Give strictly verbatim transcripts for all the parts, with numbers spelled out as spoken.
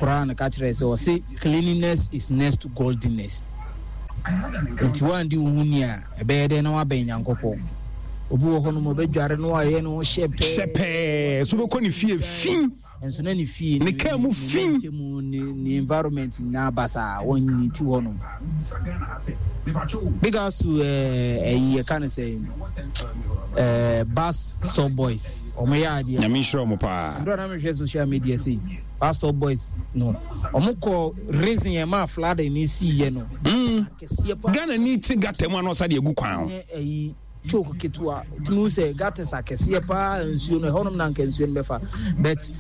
Koran ka kyerɛ sɛ ɔse cleanliness is next to godliness. Nti woandi wo ho ni a, ɛbɛyɛ dɛn na woabɛn Nyankopɔn? Obi wɔ hɔnom ɔbɛdware no ayɛ ne ho hyɛ pɛɛ. Hyɛ pɛɛ so bɛkɔ ne fie fi. Nso na ne fie ne kaa mu fi. Ne mu ne ne environment nyinaa basaa, wɔn ne ti hɔnom. Big ups to ɛyi yɛka no sɛ ɛɛ Bus Stop Boys, wɔn yɛ adeɛ. Nyame nhyira wɔn paa. Ndora na mehwɛ social media sei, Bus Stop Boys no, wɔn kɔ reason yɛn maa flooding ne si yɛ no. Mm. Kɛseɛ paa. Ghana ni ti gutter mu anɔ sa de egu kwan ho. Ɛyi choke ketewa tumi sɛ gutters akɛseɛ paa, nsuo no ɛhɔnom na nka nsuo no bɛfa, but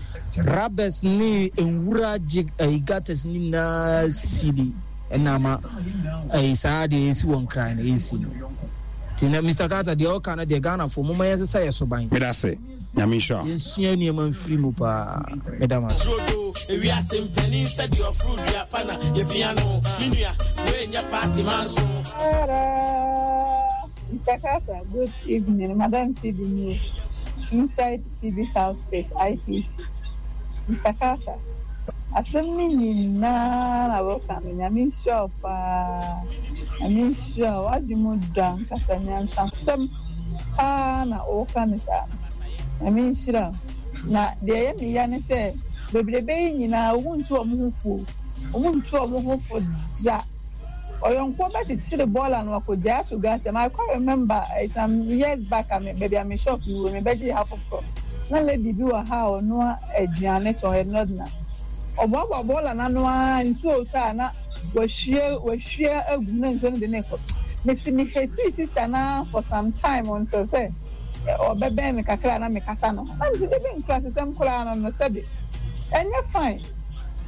rubbers ne nwura gye ɛyi gutters ne nyinaa sili ɛna ama ɛyi saa deɛ esi wɔ Nkran no esi no. Nti na Mister Carter deɛ ɔka no deɛ, Ghanafoɔ, moma yɛnsesa yɛ soban. Meda ase, Nyame nhyira. Yɛnsua nneɛma mfiri mu paa. Meda mo ase. Ewiase mpanin sɛ deɛ ɔforo dua pa na yɛpia no, me nua woɛnyɛ party man so. Mister Carter, good evening. Madam T B me inside T B South Space I P T. Mister Carter, asɛm no nyinaa na wɔka no, Nyame nhyira wo paa. Nyame nhyira wo. W'adwe mu dɔ ankasa, nyansasɛm paa na wɔka no saa. Nyame nhyira wo. Na deɛ ɛyɛ me ya ne sɛ bebrebe yi nyinaa wɔn ntu wɔn ho fo. Wɔn ntu wɔn ho fo da. Ɔyɔnkoɔ bɛkyekyere bɔɔla no akɔgyaa ato gutter mu. I quite remember uh, some years back a me baabi a me shop yi wɔ, me bɛgye ha foforɔ na lady bi wɔ ha a ɔnoa aduane tɔn, ɛ northerner. Ɔboaboa bɔɔla n'ano ara, nsuo tɔ a na wahwie wahwie agu mu na nsuo no de ne kɔ. Mesi me hate sister na for some time until sɛ ɔbɛbɛn me kakra na mekasa no na mesi de bi nkura sisɛm koraa no no sɛbi ɛnyɛ fine.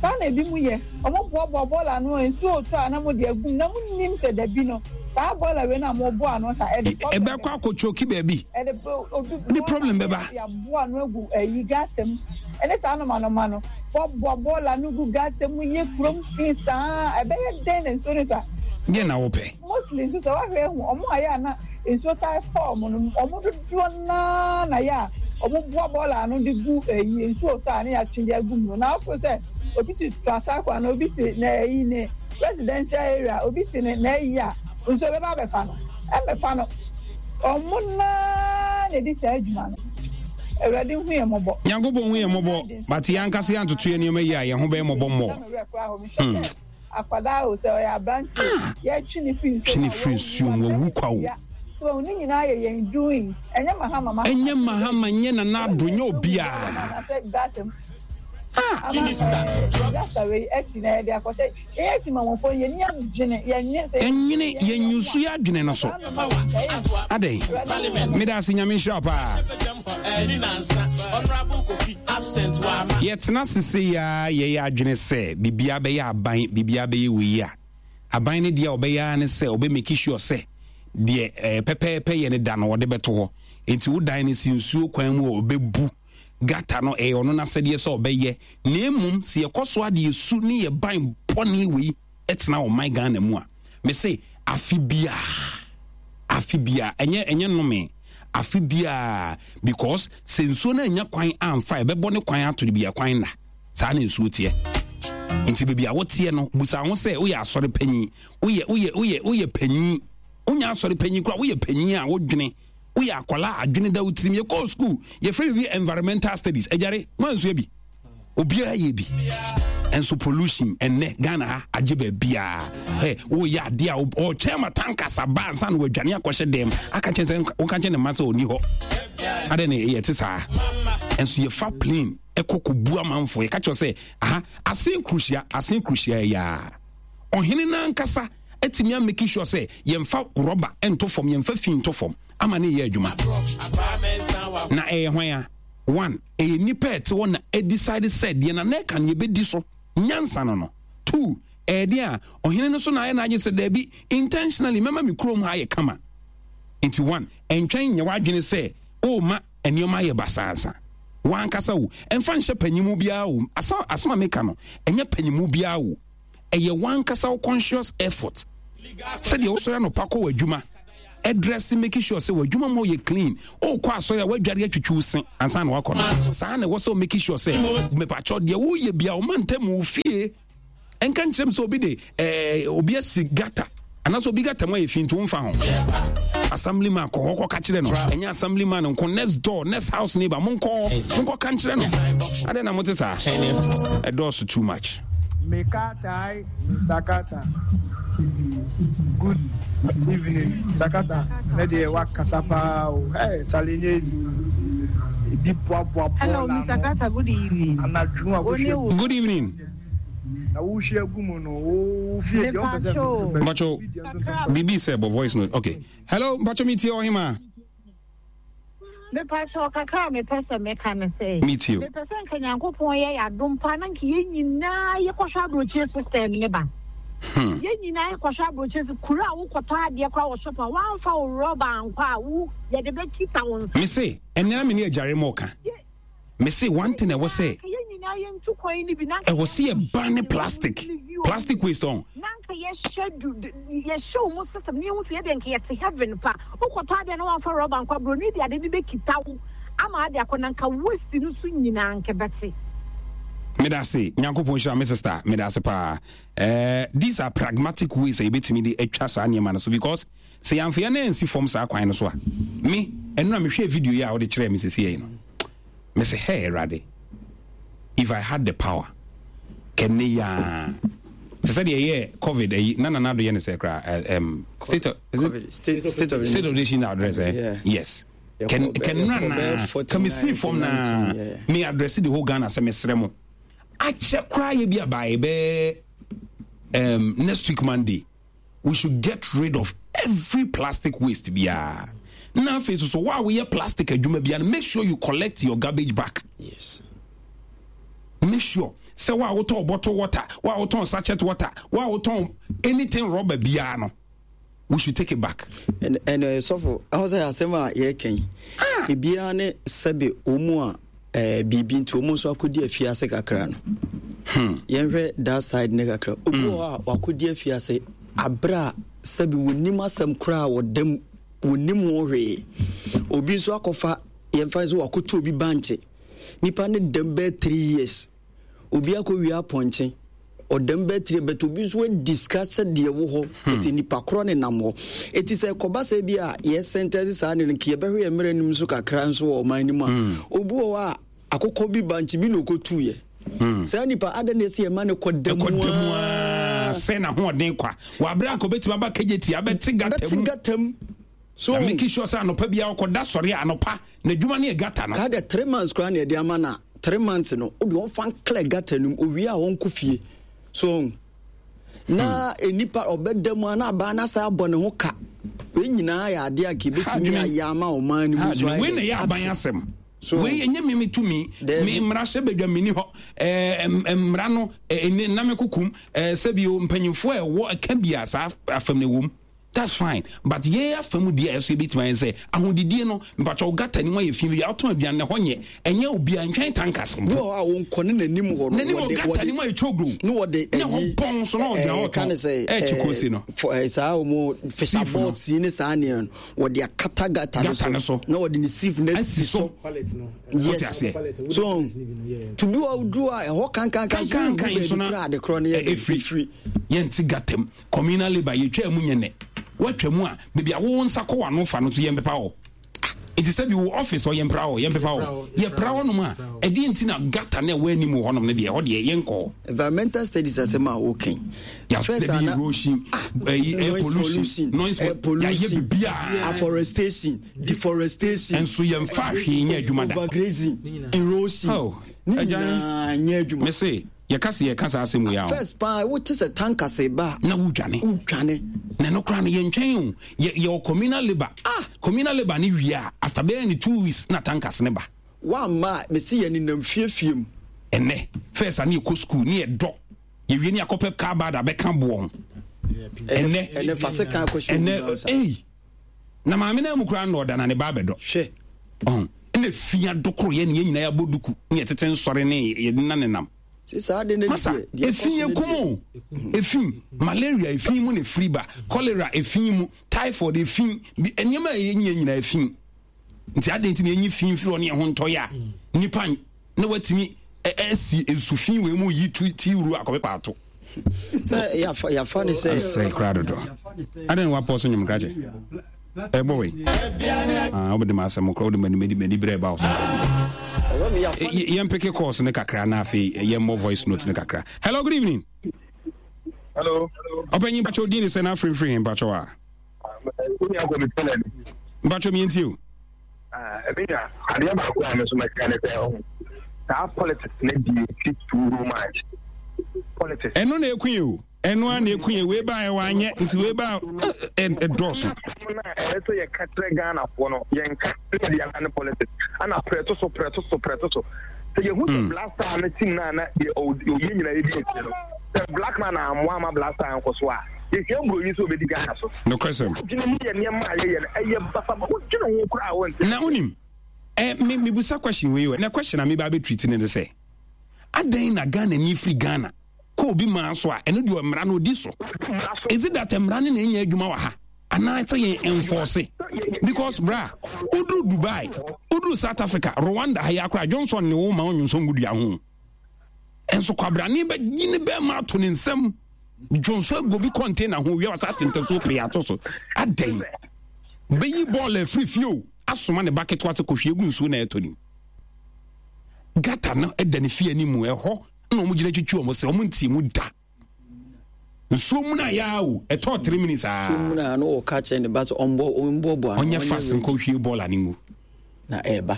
Saa na ebi mu yɛ, ɔmo boaboa bɔɔla ano, nsuo tɔ a na mo de agu mu na mo nim sɛ dabi no saa bɔɔla wei na mo bɔ ano sa ɛde problem. Ɛbɛkɔ akɔtwoki baabi. Ɛde obi ne problem bɛba. Yɛaboa ano agu ɛyi gutter mu ɛne saa nomanoma no boaboa bɔɔla no gu gutter mu, yɛ kurom fi saa, ɛbɛyɛ dɛn na nsuo no tɔ a? Deɛ na wopɛ. Mostly nso sɛ wahwɛ ehu ɔmo a yɛ a na nsuo taa fɔɔ mo no, ɔmo dodoɔ naa na yɛ a ɔmo boa bɔɔla ano de gu ɛyi nsuo tɔ a ne yɛatwe de agu mu no. Na afo sɛ obi te Trasacco ana obi te na ɛyi ne residential area, obi te ne na ɛyi a nsuo bɛba abɛfa no, ɛmɛfa no. Ɔmo naa na edi saa adwuma no. Awurade hu yɛn mmɔbɔ. Nyankopɔn hu yɛn mmɔbɔ, but yɛn ankasa yɛn antoto yɛn nneɛma yi a, yɛn ho bɛyɛ mmɔbɔ mmɔ. Akwadaa o, sɛ ɔyɛ aberante, yɛtwe ne firi nsuo Twe ne firi nsuo mu, wawu kwa o. So ne nyinaa yɛ yɛn doing, ɛnyɛ Mahama Mahama. Ɛnyɛ Mahama, nyɛ Nana Addo, nyɛ obiara. Ah, gata wei akyi na yɛde akɔhyɛ yɛn akyi ma wɔn fɔ yɛn ni adwene, yɛn nye sɛ. Yɛnwene yɛnyusu yɛ adwene no so adɛn? Meda ase, Nyame nhyira wo paa. Yɛtena sese yi a, yɛyɛ adwene sɛ biribiara bɛyɛ aban, biribiara bɛyɛ wei a, aban no deɛ a ɔbɛyɛ ara ne sɛ ɔbɛ make sure sɛ deɛ ɛɛ pɛpɛɛpɛ yɛ ne da no ɔde bɛto hɔ. Nti wo dan no si nsuo kwan mu a, ɔbɛbu gutter no, ɛyɛ ɔno n'asɛdeɛ sɛ ɔbɛyɛ. Na emom sɛ yɛkɔ so ade esu ne yɛ ban bɔne wei ɛtena ɔman Ghana mu a, mese afe biara, afe biara, ɛnyɛ ɛnyɛ nnome, afe biara, because sɛ nsuo no anya kwan amfa, ɛbɛbɔ ne kwan ato de bi kwan na saa na nsuo teɛ. Nti baabi a woteɛ no, busa ho sɛ woyɛ asɔre panyin, woyɛ woyɛ woyɛ woyɛ panyin, wonya asɔre panyin koraa, woyɛ panyin a wodwene, woyɛ akwadaa a adwene da wo tirim. Yɛkɔɔ school, yɛfrɛ biribi environmental studies. Agyare moansua bi, obiara yɛ bi nso. Pollution ɛnɛ Ghana ha agye baabiaa. Ɛ woyɛ adeɛ a ɔtwɛn ma tankers aba ansa na wadwane akɔhyɛ dɛm aka kyɛn sɛ woka kyɛn ne mma sɛ ɔni hɔ. Adɛn na ɛyɛ te saa? Ɛnso yɛfa plane ɛkɔ kɔbu amanfoɔ. Yɛka kyerɛ sɛ aha Asen Kuruhyia, Asen Kuruhyia yɛ a ɔhene no ankasa atumi a make sure sɛ yɛmfa rɔba nto fam, yɛmfa fi nto fam ama ne yɛ adwuma. Na ɛyɛ hwan a? One, ɛyɛ nipa ɛte hɔ na ɛ decide sɛ deɛ na n'ɛka no yɛbɛdi so nyansa no no Two, ɛyɛ deɛ a ɔhene no so na ayɛ n'agye sɛ daabi, intentionally mɛma me kurom ha ayɛ kama. Nti one, ɛntwɛn nyɛ w'adwene sɛ ɔɔma nneɛma ayɛ basaasa wankasa o. Ɛmfa nhyɛ panyimu biara o. Asɛm asɛm a meka no, ɛnyɛ panyimu biara o, ɛyɛ wankasa wo conscious effort. Sɛdeɛ wosɔre anɔpa kɔ w'adwuma, Ɛdress, make sure sɛ w'adwuma mu yɛ clean. Wokɔ asɔre a, woadware atwitwi wo se ansa na wakɔ no. Saa na ɛwɔ sɛ make sure sɛ mepakyɛw deɛ woyɛ bia ɔma ntam wo fie. Ɛnka nkyerɛ m sɛ obi de eh, obi asi gutter anaasɛ obi gutter mu ayɛ fi, nti womfa ho. Assembly man, kɔ hɔ kɔka kyerɛ no. Ɛnyɛ assembly man nko, next door, next house neighbor, monkɔ monkɔ ka nkyerɛ no. Adɛn na mote saa? Ɛdɔɔso too much. Mekatai, Mister Carter. Good evening, Mister Carter. Ne deɛ wakasa paa o. Hey, Charlie nye easy. Ebi boaboa Hello, bɔɔla Mister ano. Carter, good evening. Anadwo a Wo ne wohwɛ wo. Good evening. Na wohwɛ agu mu no, wo fie deɛ wompɛ sɛ Mepacho. ntontom bɛ. Mpacho, Bi deɛ ntontom bɛ. biribi sɛ bɔ voice note. Okay, hello, mpacho, metie ɔhema. Mepacho, kakra a mepɛ sɛ meka ne sɛ, Metie o. Mepɛ sɛ nka Nyankopɔn yɛ yɛ adom paa na nka yɛn nyinaa yɛkɔhwɛ aburokyire system ne ba. Hmm. Yɛn nyinaa yɛkɔhwɛ aburokyire system. Kuro a wokɔtɔ adeɛ koraa wɔ shop a, woamfa wo rɔba ankɔ a, wo yɛde bɛkita wo nsa. Me se ɛnɛ na me ne agyare ma ɔka. Me se one thing ɛwɔ sɛ Nka yɛn nyinaa yɛntu kwan no bi na nka ɛwɔ sɛ yɛba ne plastic plastic waste ɔn. Na nka yɛhyɛ du du- yɛhyɛ wo mu system ne yɛhu sɛ yɛdeɛ nka yɛte heaven pa. Wokɔtɔ adeɛ na woamfa rɔba nkɔ a, buroni de ade no bɛkita wo ama ade akɔ, na nka waste no so nyinaa nka bɛte. Meda ase, Nyankopɔn hyira me sister. Meda ase paa. uh, these are pragmatic ways a yɛbɛtumi de atwa saa nneɛma no so, because sɛ yɛamfa yɛn nan ansi fam saa kwan no so a, me ɛno na mehwɛ video yi a wode kyerɛɛ me sɛsi yi no, me sɛ, hey Awurade, if I had the power kɛnɛ yaa sɛ sɛdeɛ ɛyɛ COVID ayi na Nana Addo yɛ ne sɛ koraa, um, state of, is it? COVID, state, state of state of nation address, eh? Yeah. Yes, kɛnura na kàmisi fam na me address the whole Ghana sɛ mesrɛ mo, akyɛ koraa yɛ bi abaayɛ bɛɛ um, next week Monday, we should get rid of every plastic waste biara. Na afei so so wo a woyɛ plastic adwuma biara no, make sure you collect your garbage back. Yes. Make sure sɛ wo a wotɔn bottle water, wo a wotɔn sachet water, wo a wotɔn anything rubber biara no, we should take it back. ɛnɛ sɔfo ɛho sɛ asɛm a yɛreka yi, ebiara ne sɛbe wɔn mu a ɛɛ biribi nti wɔn nso akɔdi afiase kakra no hmm. Yɛnhwɛ that side ne kakra. Obi wɔ hɔ a wakɔdi afiase abere a sɛbe wɔnim asɛm koraa, wɔdam, wɔnim ho hwee. Obi nso akɔfa, yɛmfa nso wakɔtu obi bankye, nipa ne dɛm bɛɛ three years. Obi akɔwie apɔnkye, ɔdɛm bɛɛ three, but obi nso adi sika sɛdeɛ wɔ hɔ. Ɛti nipa korɔ ne nam hɔ. Ɛti sɛ kɔba sɛ bi a yɛ sentence saa ne no, nka yɛbɛhwɛ yɛ mmerɛ nim so kakra nso wɔ ɔman no mu a, obi wɔ hɔ a akokɔ bi bankye bi na ɔkɔtuiɛ. Saa nipa ada ne ɛsɛ yɛma ne kɔ da mu. Ɛkɔ da mu aa sɛ n'ahoɔden kwa wabere akɔ bɛtumi aba kegye abɛte gutter bɛte mu. Gutter mu so. Na make sure sɛ anɔpa biara ɔkɔda sɔre a, anɔpa n'adwuma no yɛ gutter no. Ka de three months koraa na yɛde ama na three months no, wode ɔmfa nclear gutter no mu, owie a ɔnkɔ fie so na nipa ɔbɛda mu a na abaa no asa abɔ ne ho ka. Wei nyinaa yɛ adeɛ a nka yɛbɛtumi Adwene. ayɛ ama ɔman no mu so wei na ayɛ ɛyɛ aban ate. asɛm. So- Wei ɛnyɛ me me tumi. Daabi. Me mmarahyɛ badwa meni hɔ. ɛɛ, m- mmara no ɛne nam kokum ɛɛ, sɛbio mpanyinfoɔ a ɛwɔ ɛka bi a saa afam no ɛwɔ mu, that's fine, but yɛn afa mu deɛ, ɛso yɛbɛtumi ayɛ sɛ ahodidie no, mpatwa gutter ne mu ayɛ fi bi a wotɔn aduane na ɛhɔ nyɛ, ɛnyɛ obiara ntwɛn tankers Bi mpo. wɔ hɔ a wɔnkɔ ne n'anim hɔ no, N'anim wɔ wɔde- gutter wɔde- ne mu ayɛ twogro. ne wɔde Ne hɔ bɔn so na ɔgyina hɔ ɛɛ, ka ne sɛ tɔn. Ɛɛkyi kose no. fɔ- ɛɛ, saa wɔn fisher Sieve no. board yi ne saa nneɛma no, wɔde akata gutter Gutter no so. Na wɔde ne sieve no Asi asi so. so. Pallet no. Yes. Aseɛ. So to bi wɔ duro a ɛhɔ kankankan so kankankan so na kura ade korɔ no yɛ ɛ- ɛfiri ɛfiri. Yɛnte gutter mu. Communal labour yɛtwa mu nyɛ nɛ woatwa mu a, baabi a wo nsa kɔ w'ano fa no so, yɛmpepa hɔ. Nti sɛ bi wo office hɔ, yɛmpra hɔ, yɛmpepa hɔ, yɛpra hɔ nom a, ɛdeɛ nti na gutter na ɛwɔ anim wɔ hɔnom no deɛ, ɛhɔ deɛ yɛnkɔ hɔ? Environmental studies asɛm a wokan. Yɛasɛ bi erosion, ɛyi, air pollution, noise, air yɛayɛ pollution, biribiara. Afforestation, deforestation. Nso yɛmfa hwee nyɛ adwuma da. Overgrazing, erosion. Oh, ne agya. nyinaa nyɛ adwuma. Me se yɛka se yɛka saa asɛm wei a o. First paa, wote sɛ tankers ba a, na wodwane. Wodwane. Na ɛno koraa no yɛntwɛn o. Yɛ- yɛwɔ communal labour. Ah, communal labour ne wie a, after bɛyɛ ne two weeks na tankers ne ba. Woamma a, mesi yɛ nenam fiefie mu. Ɛnɛ first a ne yɛkɔ school ne yɛdɔ yɛwie ne yɛakɔpɛ car bad abɛka boɔ ho. Ɛnɛ ɛnɛ fa se kan akɔhyɛ ɛnɛ obi nsa. Ei, na maame no mu koraa na ɔda na ne ba abɛdɔ. Hwɛ. Ɔn ɛna fia dokoro yɛ ne yɛn nyinaa yɛabɔ duku ne yɛtete nsɔre ne yɛde na nenam. Masa, efi yɛ kum o. Efi, malaria efi mu na efiri ba, cholera efi mu, typhoid efi, nneɛma a ɛyɛ nyɛ nyinaa efi. Nti adan nti na enyi fi mfiri ɔne ɛho ntɔ yɛ a nipa na watumi ɛsi nsu fi wei mu yi tu ti wuru akɔpepa ato. Sɛ yafa yafa ne sɛ. Asɛ kura dodo. Adan wa pɔ so nyom krakye. Ɛbɔ wei. Ah, wobɛde ma asɛm kora wode m'ani m'ani berɛ ba wo so. Yɛmpeke calls ne kakra na afei yɛmmɔ voice note ne kakra. Hello, good evening. Hello. Ɔpanyin mpakyɛw din ne sɛ na afirifiri he mpakyɛw a. Mpakyɛw mientie o. Ɛbɛnya adeɛ baako a me nso mɛka ne sɛ ɔho saa politics ne di ti too much politics. Ɛno na ekun yi o. Ɛno a na eku yɛ wei ba ɛwɔ anyɛ nti wei ba ɛdɔɔso. Ɛyɛ sɛ yɛka kyerɛ Ghanafoɔ no yɛnka ne yɛde yɛn ne politics ana prɛto so prɛto so prɛto so sɛ yɛhu sɛ Black Star no team no a na ɔyɛ nyina yɛdi akyire no sɛ black man ammoa ama Black Star nkɔ so a yɛhia mburoni sɛ ɔbɛdi Ghana so. Nokwasɛm. Adwene mu yɛ nneɛma a yɛyɛ no ɛyɛ basaba wodwene ho koraa wonte. Na wonim ɛ me mebusa question wei o na question a meba abɛtreat ne ne sɛ adɛn na Ghana ni firi Ghana kɔ obi maa so a ɛno deɛ mmara no ɔdi so. Is it that mmara no na ɛnyɛ adwuma wɔ ha anaa sɛ yɛn enforce? Because bra woduru Dubai, woduru South Africa, Rwanda ha yi akora Johnson ne wo ma ɔnwonsɔ ngu dua ho. Ɛnso kwabrane bɛgye ne bɛrima ato ne nsam dwonso agu obi container ho wia wasa atentɛ so pee ato so. Adɛn bɛyi bɔɔl afiri fie o asoma ne ba ketewa sɛ kɔhwie gu nsuo na ɛtɔ nim. Gata no ɛda ne fie anim ɛhɔ na wɔn gyina twitwi wɔn sɛ wɔn ntie mu da. Nsuo mu na yaa o ɛtɔ three minutes aa. Nsuo mu na ano ɔka kyerɛ ne ba sɛ ɔmbɔ ɔmbɔ bɔ ano. Ɔnyɛ fast nkɔ hwie bɔɔl ani ngu. Na ɛɛba.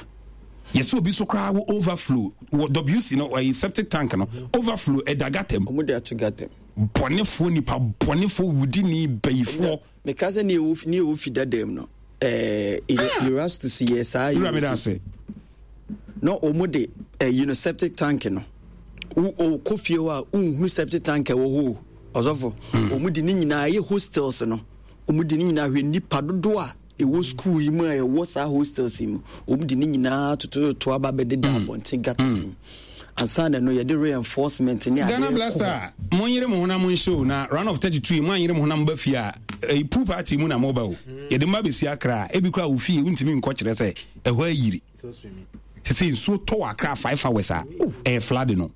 Yɛsɛ obi so koraa wɔ overflow wɔ W C no ɛyɛ septic tank no overflow ɛda gutter mu. Wɔn de ato gutter mu. Bɔnefoɔ nipa bɔnefoɔ wudini bayifoɔ. Meka sɛ ne ɛwɔ ne ɛwɔ fi dada mu no ɛɛ Erastus yɛ saa. Wura mi da ase. Na wɔn de ɛyi no septic tank no wo ɔkɔ fie hɔ a nhunu septic tank ɛwɔ hɔ o ɔsɔfo. Wɔn de ne nyinaa ɛyɛ hostels no wɔn de ne nyinaa hwɛ nipa dodoɔ a ɛwɔ school yi mu a ɛwɔ saa hostels yi mu wɔn de ne nyinaa tototo aba bɛdeda abɔnten gutters mu ansa na no yɛde reinforcement ne adeɛ. Ghana Blaster mo nyere mo ho na mo nhyɛ o na round of thirty two yi mo anyere mo ho na mo ba fie a ɛyi pool party mu na mo ba o yɛde mo ba bɛsi Accra ebi kora wo fie wontumi nkɔ kyerɛ sɛ ɛhɔ ayiri sɛ nsuo tɔ wɔ Accra five hours a ɛyɛ flood no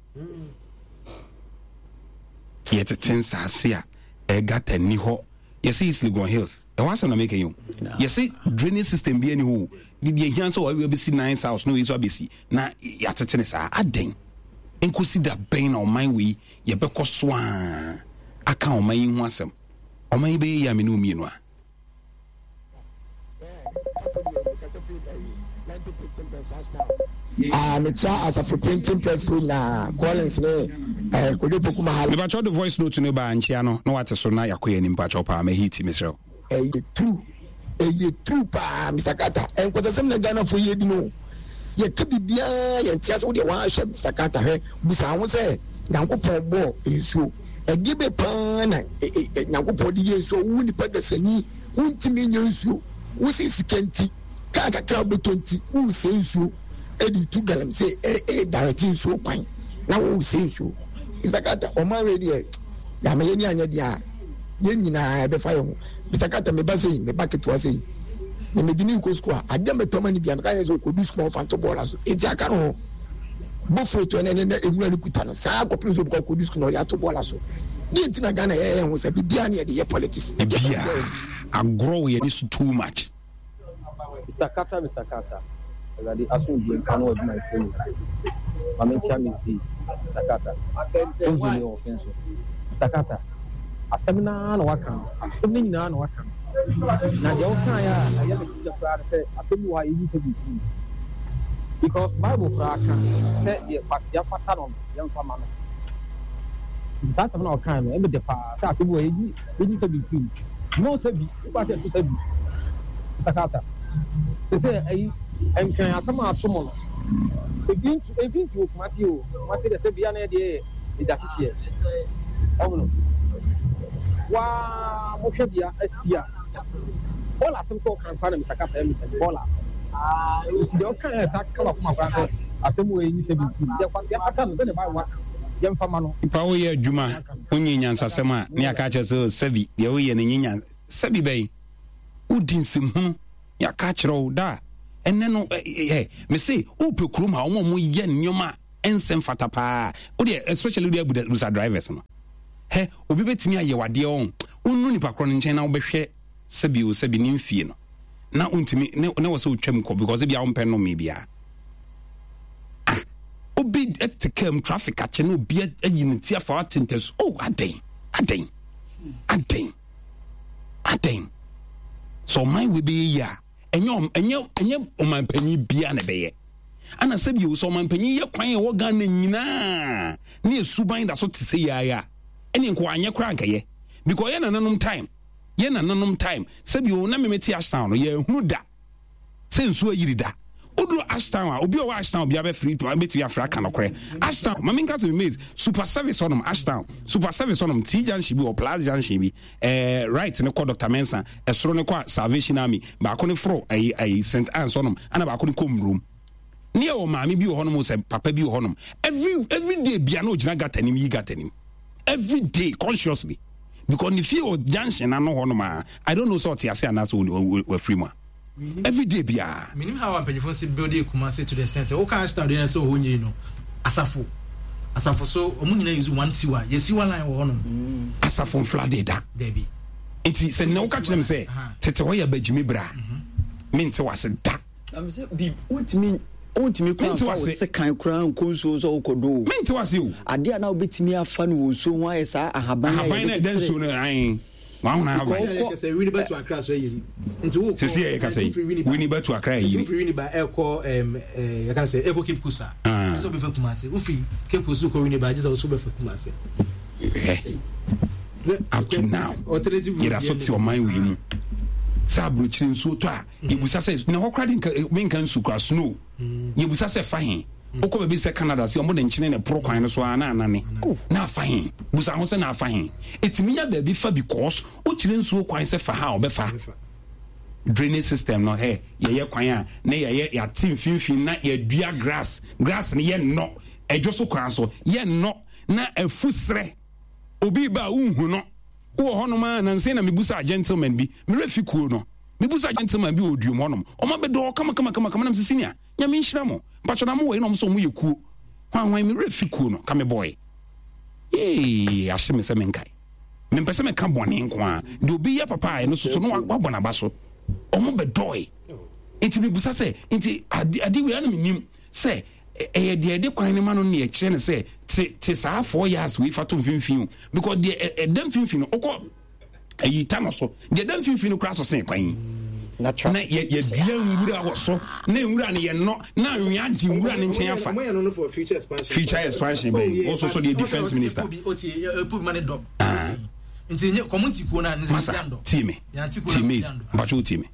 yɛtete nsaase a ɛgata ni hɔ yɛsɛ East Legon Hills ɛhɔ asɛm na meka yi o yɛsɛ drainage system bi ani hɔ o deɛ hia sɛ wɔabɛsi nine house na wei nso abɛsi na yɛatete ne saa adɛn nkosi da bɛn na ɔman wei yɛbɛkɔ so a aka ɔman yi ho asɛm ɔman yi bɛyɛ yi a me ne wo mmienu a Ah, mekyia asafo printing press fo nyinaa, Collins ne eh, Kojo Poku Mahala. Mepakyɛw de voice note no baa nkyia no na wate so na yɛakɔ yɛn anim pakyɛw paa ma hit mesrɛ wo. Ɛyɛ true ɛyɛ true paa Mister Carter nkɔsɛsɛm na Ghana fo yɛ di no yɛka biribiara yɛn te ase wodeɛ wahwɛ Mister Carter hwɛ busa ho sɛ Nyankopɔn bɔɔ nsuo ɛdeɛ bɛ paa na Nyankopɔn de yɛ nsuo wo nipa dasani wontumi nyɛ nsuo wosi sika nti kaa kakra wobɛtɔ nti wosɛ nsuo ɛde tu galamsey ɛɛ direct nsuo kwan na wosɛ nsuo Mister Carter ɔman wei deɛ yàmɛ yɛn ni anyɛ deɛ a yɛn nyinaa ɛbɛfa yɛn ho Mister Carter meba sɛyi meba ketewa sɛyi na mede ne nkɔ sukuu a adeɛ mɛtɔ ma ne bia meka yɛ sɛ ɔkɔdu sukuu a ɔfa nto bɔɔla so enti aka no hɔ bofuro ɛnɛ ne nwura no kuta no saa kɔpem sɛ ɔbɛkɔ akɔdu sukuu na ɔde ato bɔɔla so deɛ nti na Ghana yɛyɛ ho sɛ biribiara ne yɛde yɛ politics biribiara agorɔ wɔ yɛne so too much. Mister Carter, Mister Carter, Awurade asomdwoe nka no wɔ adwumayɛfoɔ nyinaa. Ma menkyia Miss D, Mister Carter, Wohu me wɔ ɔfen so. Mister Carter, asɛm no ara na woaka no, asɛm no nyinaa na woaka no. Na deɛ wokaeɛ a ɛyɛ me dɛ koraa ne sɛ asɛm bi wɔ hɔ a yɛnyi sɛ biribi. Because Bible koraa ka sɛ deɛ kwasea fata no no, yɛmfa ma no. Nti saa asɛm no a ɔkae no, ɛme dɛ paa sɛ asɛm bi wɔ hɔ a yɛnyi yɛnyi sɛ biribi mu. No sɛ bi, wokɔ sɛ ɛto sɛ bi. Mister Carter, te sɛ ayi nkran asɛm a ato mo no, ebi ntu ebi nti wɔ Kumasi o, Kumasi deɛ sɛ bia na yɛdeɛ yɛ egya hyehyeɛ. Ɔhono. Waa mohwɛ deɛ asi a, bɔɔla asɛm kɔ ɔkan koraa na Mister Carter ɛmi sɛ bɔɔla asɛm. Nti deɛ ɔkan yɛ saa kama koma koraa sɛ asɛm wɔ enyi sɛ bi nti deɛ kwasi afata no sɛ ne Bible aka. Yɛmfa ma no. Nipa woyɛ adwuma wonyɛ nyansasɛm a ne aka akyerɛ sɛ oh, sɛbi deɛ woyɛ no nyɛ nyan sɛbi bɛyi wodi nsɛmhunu ne aka akyerɛ wo da ɛnɛ no ɛ mese wopɛ kurom a wɔn a wɔyɛ nneɛma ɛnsɛ mfata paa wodeɛ especially wodeɛ abusa drivers no hɛ obi bɛtumi ayɛ wadeɛ ɔn wonu nipa korɔ no nkyɛn na wobɛhwɛ sɛbi o sɛbi ne mfie no na wontumi ne wɔ sɛ wotwam kɔ because ebia wompɛ nnome biara. Ah, obi te kaa mu traffic akye na obi ayi ne ti afa ate ntasu. Oh, adɛn, adɛn, adɛn, adɛn. Sɛ ɔman wei bɛyɛ yi a, ɛnyɛ ɛnyɛ ɛnyɛ ɔman panyin biara na ɛbɛyɛ. Ana sɛ bio sɛ ɔman panyin yɛ kwan a ɛwɔ Ghana nyinaa ne esuban da so te sɛ yɛayɛ a, ɛne nko anyɛ koraa nkɛyɛ. Because yɛ nananom time, yɛ nananom time sɛbi o na meme te Ashtown no yɛhunu da sɛ nsuo ayiri da. Woduru Ashtown a, obi a ɔwɔ Ashtown bia bɛfiri bɛtumi afrɛ aka nokorɛ. Ashtown, ma menka sɛ memaze super service hɔnom, Ashtown super service hɔnom, T junction bi wɔ plus junction bi, eh, right ne kɔ Doctor Mensah, ɛsoro ne kɔ Salvation Army, baako ne foro ɛyi ɛyi Saint Anne's hɔnom, ana baako ne kɔ Mmurom. Ne yɛ wɔ maame bi wɔ hɔnom sɛ papa bi wɔ hɔnom. Every every day bia na ogyina gutter nim yi gutter nim. Every day consciously. Because ne fie wɔ junction ano hɔnom a, I don't know sɛ ɔte ase anaasɛ wafiri mu a. Every day biara. Menim how a mpanyinfoɔ nsi build Kumasi to the extent sɛ woka Ashtown deɛ sɛ ɔhɔ nyiri no asafo asafo so ɔmo nyinaa use one sewer yɛ sewer line wɔ hɔnom. Asafo nfla de da. Dabi. Nti sɛ nnɛ woka kyerɛ me sɛ tete hɔ yɛ bagyimi bra mente wase da. Na me sɛ bi wontumi wontumi kora nfa wo sekan koraa nkɔ nsuo sɛ wokɔdɔ o. Mente wase o. Adeɛ a na wobɛtumi afa no wɔ nsuo ho ayɛ saa ahaban a yɛde kyekyere. Ahaban na ɛda nsuo no ae. Wahona ahaban. Sɛ wini bɛtu akra so ayiri. Nti wo sisi yɛ kasa yi wini bɛtu akra ayiri. Nti wofiri Winneba ɛkɔ ɛm ɛɛ yɛka sɛ ɛkɔ Cape Coast a. Ɛsɛ wobɛfa Kumasi. Wofiri Cape Coast kɔ Winneba agye sɛ woso bɛfa Kumasi. Hwɛ up to now yɛda so te ɔman wei mu sɛ aburokyire nsuo tɔ a yɛbusa sɛ na hɔ kora de menka nsu kora snow yɛbusa sɛ fa he wokɔ baabi sɛ Canada sɛ ɔmo de nkyene na ɛporo kwan no so a na anane na afa he busa ho sɛ na afa he ɛtumi nya baabi fa because wokyerɛ nsuo kwan sɛ fa ha a ɔbɛfa drainage system no hɛ yɛyɛ kwan a na yɛyɛ yɛate mfimfini na yɛdua grass grass no yɛ nnɔ ɛdwo so kwan so yɛ nnɔ na afu serɛ obi ba a wonhu no wowɔ hɔnom a nansa na mebusa gentleman bi merɛ fi kuo no mebusa gentleman bi wɔ oduom hɔnom ɔma bɛdɔɔ kama kama kama kama nam sɛ senior nyame nhyira mo mpakyɛ na mowɔ yi na ɔmo sɛ ɔmo yɛ kuo hwan hwan merɛ fi kuo no ka me bɔe yee ahye me sɛ menkae mempɛ sɛ meka bɔne nko a deɛ obi yɛ papa a ɛno soso no wabɔ n'aba so ɔmo bɛdɔe nti mebusa sɛ nti ade ade wei ana menim sɛ ɛyɛ deɛ ɛde kwan no ma no ne ɛkyerɛ no sɛ te te saa four yards wei fa to mfimfini o because deɛ ɛda mfimfini no wokɔ ayi ta no so deɛ ɛda mfimfini no koraa so sen kwan yi na yɛdua nwura wɔ so na nwura no yɛnnɔ na anwea gye nwura no nkyɛn afa future expansion bɛyi wo so so deɛ defense minister masa tie me tie me mpatwo wo tie me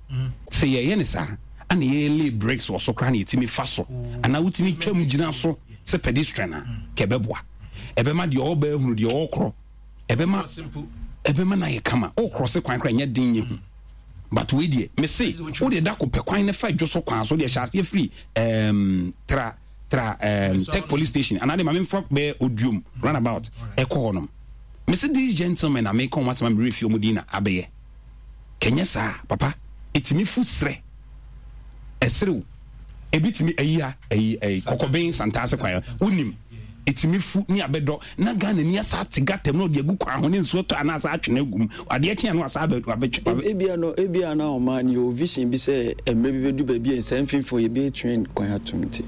sɛ yɛyɛ ne saa ana yɛyɛ lay bricks wɔ so koraa na yɛtumi fa so anaa wotumi twam gyina so sɛ pedestrian a ka ɛbɛboa ɛbɛma deɛ ɔba ahunu deɛ ɔkorɔ ɛbɛma ɛbɛma no ayɛ kama wokorɔ se kwan koraa nyɛ den nyɛ hu but wei deɛ mese wode da ko pɛ kwan ne fa dwo so kwan so deɛ hyɛ aseɛ firi um, tra tra um, tech police station anaa de ma memfa bɛyɛ oduom runabout ɛkɔ hɔ nom mese these gentlemen a meka wɔn asɛm a merɛ fi wɔn din na abɛyɛ kɛnyɛ saa papa ɛtumi fu serɛ ɛserew ebi tumi ayi ha ayi ayi kɔkɔbɛn santaase kwan wonim ɛtumi fu ne abɛdɔ na Ghana ni asa ate gata mu na ɔde agu kwan ho ne nsuo tɔ anaasɛ atwe no agu mu adeɛ kye ano asa abɛtwe. Ebia no ebia na ɔma ne yɛ vision bi sɛ mmerɛ bi bɛdu baabi a nsa mfimfini yɛbɛyɛ train kwan atom nti.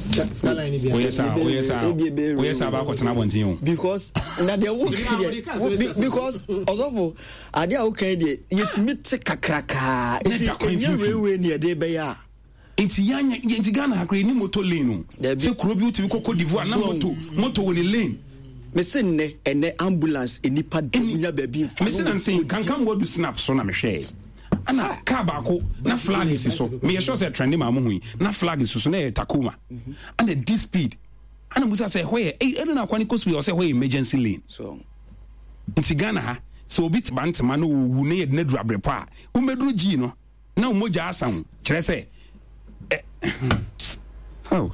Woyɛ saa woyɛ saa woyɛ saa baakɔ tena abɔnten o. Because na deɛ wo deɛ because ɔsɔfo adeɛ a wokan deɛ yɛtumi te kakrakaa nti ɛnyɛ railway ne yɛde bɛyɛ a. Nti yanya nti Ghana ha koraa yɛnni motor lane o. Sɛ kuro bi wotumi kɔ Cote d'Ivoire na moto moto wɔ ne lane. Mese nnɛ ɛnɛ ambulance nnipa da wonya baabi nfa. Mese nansa yi kankam wadu snap so na mehwɛɛ ana car baako na flag si so meyɛ sure sɛ trende maa mo hu yi na flag si so na ɛyɛ Tacoma ana di speed ana musa sɛ ɛhɔ yɛ ɛyi ɛna na akwa ne kɔ speed ɔsɛ ɛhɔ yɛ emergency lane nti Ghana ha sɛ obi te bantama na owu na yɛde no aduru abrepɔ a womɛduru gyii no na wo mogya asa ho kyerɛ sɛ ɛ oh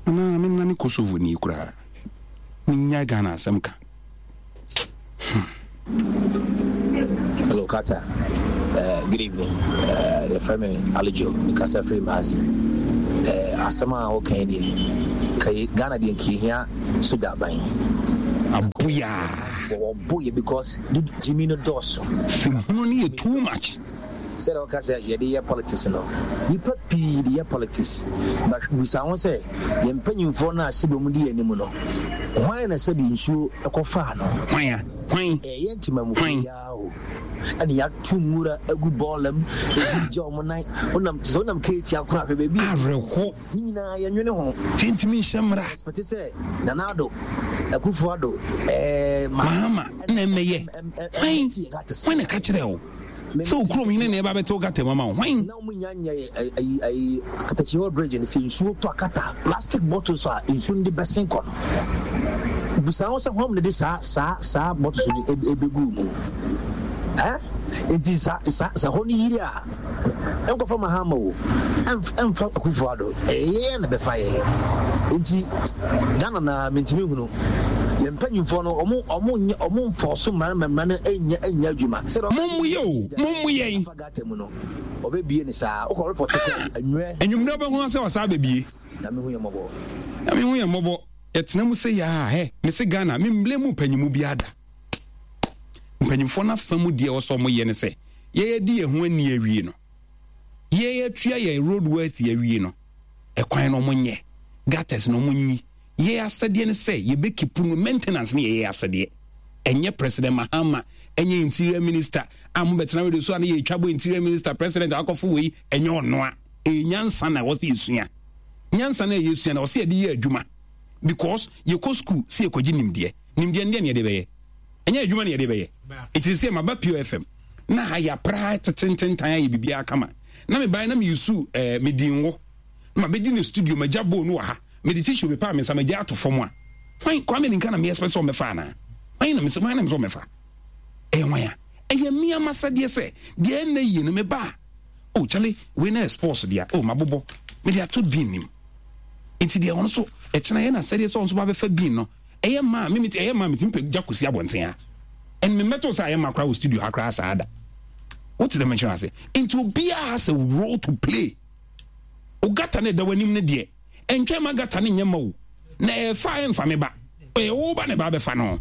anaa menna ne Kosovo ni koraa. Menya Ghana asɛm ka. Hmm. Hello, Carter. Uh, good evening. Uh, your friend Alijo, Mikasa Free Mazi. Uh, asɛm a woka yi deɛ, Ghana deɛ nka hia soja aban. Aboya. Wɔbɔ yɛ because Jimmy no dɔɔso. Sɛmhunu no yɛ too much. Sɛdeɛ woka sɛ yɛde yɛ politics no, nnipa pii de yɛ politics but bisa ho sɛ yɛn mpanyinfoɔ no a sɛbi wɔn di yɛn anim no, hwan na sɛbi nsuo kɔfaa no? Hwan a? Hwan? Ɛyɛ yɛn temamufoɔ yi ara o. Ɛna yɛato nwura agu bɔɔla mu, ebi gya wɔn nan, wonam te sɛ wonam keetia koraa hwɛ baabi. Awerɛho. Ne nyinaa yɛnwene ho. Yɛntumi nhyɛ mmara. Expect sɛ Nana Addo, Akufo Addo, ɛɛ Mahama na ɛmmɛyɛ. Hwan? Hwan na ɛka kyerɛɛ wo? Sɛ wo kurom hene na ɛba bɛte wo gata mu ama wo hwan? Na wɔn nya nyɛ ayi ayi katakyi hɔ bridge no sɛ nsuo tɔ akata plastic bottles a nsuo no de bɛsen kɔ no bisa ho sɛ hɔn na de saa saa saa bottles no ebegu mu ɛ nti sa sa sa hɔ no yiri a ɛnkɔfa Mahama o ɛnfa Akufo Addo ɛyɛ na bɛfa yɛ nti Ghana na mentumi hunu yɛn mpanyinfoɔ no ɔmo ɔmo nyɛ ɔmo nfɔɔso mmara no mmara no nyɛ nyɛ adwuma. Mommu yɛ o, mommu yɛn. Afa gata mu no ɔbɛbie no saa wokɔ report kɔ anwummerɛ. Anwummerɛ wobɛhu sɛ ɔsaa bɛbie. Nyame hu yɛn mmɔbɔ. Nyame hu yɛn mmɔbɔ. Yɛtena mu sɛ yaa hɛ mese Ghana me mblame mpanyimu biara da. Mpanyimfoɔ no afa mu deɛ ɛwɔ sɛ ɔmo yɛ ne sɛ yɛyɛ di yɛn ho ani awie no yɛyɛ tua yɛn road worthy awie no ɛkwan no ɔmo nyɛ gutters no ɔmo nyi. Yɛn asɛdeɛ ne sɛ yɛbɛ keep no, maintenance no yɛ yɛn asɛdeɛ. Ɛnyɛ President Mahama, ɛnyɛ Interior Minister a mobɛtena radio so a ne yɛtwa bɔ Interior Minister, President akɔfo wei, ɛnyɛ ɔnoa. Ɛyɛ nyansa na ɛwɔ sɛ yɛsua. Nyansa na yɛsua na ɛwɔ sɛ yɛde yɛ adwuma. Because yɛkɔ school sɛ yɛkɔgye nimdeɛ. Nimdeɛ no deɛ ne yɛde bɛyɛ. Ɛnyɛ adwuma na yɛde bɛyɛ. Ɛti sɛ maba Pure F M na ha yɛapra tetententan ayɛ biribiara kama. Na mebae na meyusu eh, medi ngo. Na mabɛdi ne studio, magya bowl no wɔ ha. Mede tissue mepaa me nsa magya ato fam a, hwan Kwame Ninka na me expect sɛ ɔmmɛfa anaa? Hwan na mesɛ hwan na mesɛ ɔmmɛfa? Ɛyɛ hwan a? Ɛyɛ mmea masɛdeɛ sɛ deɛ ɛnnɛ yie no meba a, oh kyale wei na yɛ sports deɛ oh mabobɔ mede ato bin nim. Nti deɛ ɔno so ɛkyena yɛ na sɛdeɛ sɛ ɔno so ba bɛfa bin no ɛyɛ maa me mete ɛyɛ maa metumi pɛ gya kɔsi abɔnten ha. And me mmɛto sɛ ayɛ ma koraa wɔ studio ha koraa saa da. Wote dɛ menkyerɛ ase? Nti obiara has a role to play. O gata no ɛda w'anim no deɛ ɛntwɛn ma gata no nyɛ ma o na ɛfa a ɛmfa me ba ɛyɛ wo ba na ɛba abɛfa no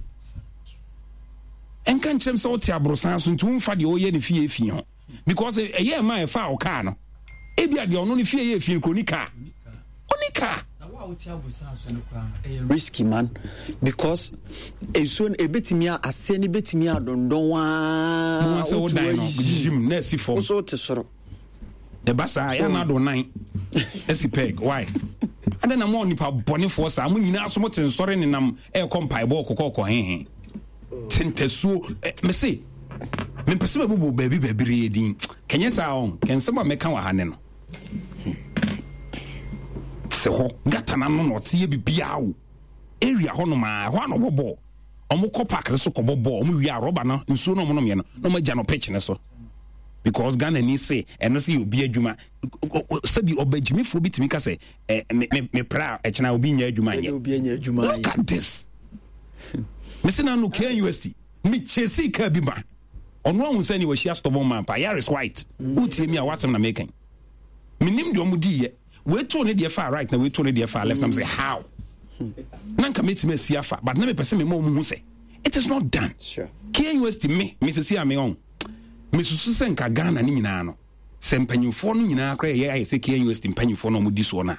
ɛnka nkyerɛm sɛ wote aborosan so nti womfa deɛ ɔyɛ ne fie fie ho because ɛyɛ ɛma ɛfa a ɔkaa no ebi a deɛ ɔno ne fie yɛ fie no kuro ni kaa ɔni kaa. Risky man because nsuo no ebetumi aseɛ no ebetumi adondɔn waa wotu ayi na esi fam woso te soro. Ɛba saa yɛ ana do nan asi peg why adɛn na mo nipa bɔnefoɔ saa mo nyinaa so mo te nsɔre nenam ɛrekɔ mpaebɔ kɔkɔɔkɔ hehe te ntasuo mese mempɛ sɛ mɛbobɔ baabi baabi reyɛ din kɛnyɛ saa ɔn kɛnsɛm a mɛka wɔ ha ne no sɛ hɔ gata no ano na ɔte yɛ bibiaa o area hɔ nom a ɛhɔ a na ɔbɔ bɔɔl ɔmo kɔ park no so kɔbɔ bɔɔl ɔmo wie a rɔba no nsuo no ɔmo nom yɛ no na ɔmo agya no pitch no so because Ghana ni se ɛno sɛ yɛ obi adwuma sɛbi ɔbɛgyimifoɔ bi tumi ka sɛ ɛ me me me pra ɛkyena obi nyɛ adwuma nyɛ look at this me se na no K N U S T me chesi kaa bi ma ɔno ahun sɛ ne wahyia stubborn man pa Yaris white wotie mi a wasɛm na mekan menim deɛ ɔmo di yɛ weto ne deɛ fa right na weto ne deɛ fa left na me sɛ how na nka metumi asi afa but na mepɛ sɛ mema ɔmo hu sɛ it is not done sure. K N U S T me me sisi a me ɔn mesusu sɛ nka Ghana ne nyinaa no sɛ mpanyinfoɔ no nyinaa koraa yɛ ayɛ sɛ K N U S T mpanyinfoɔ no ɔmo di soɔ no a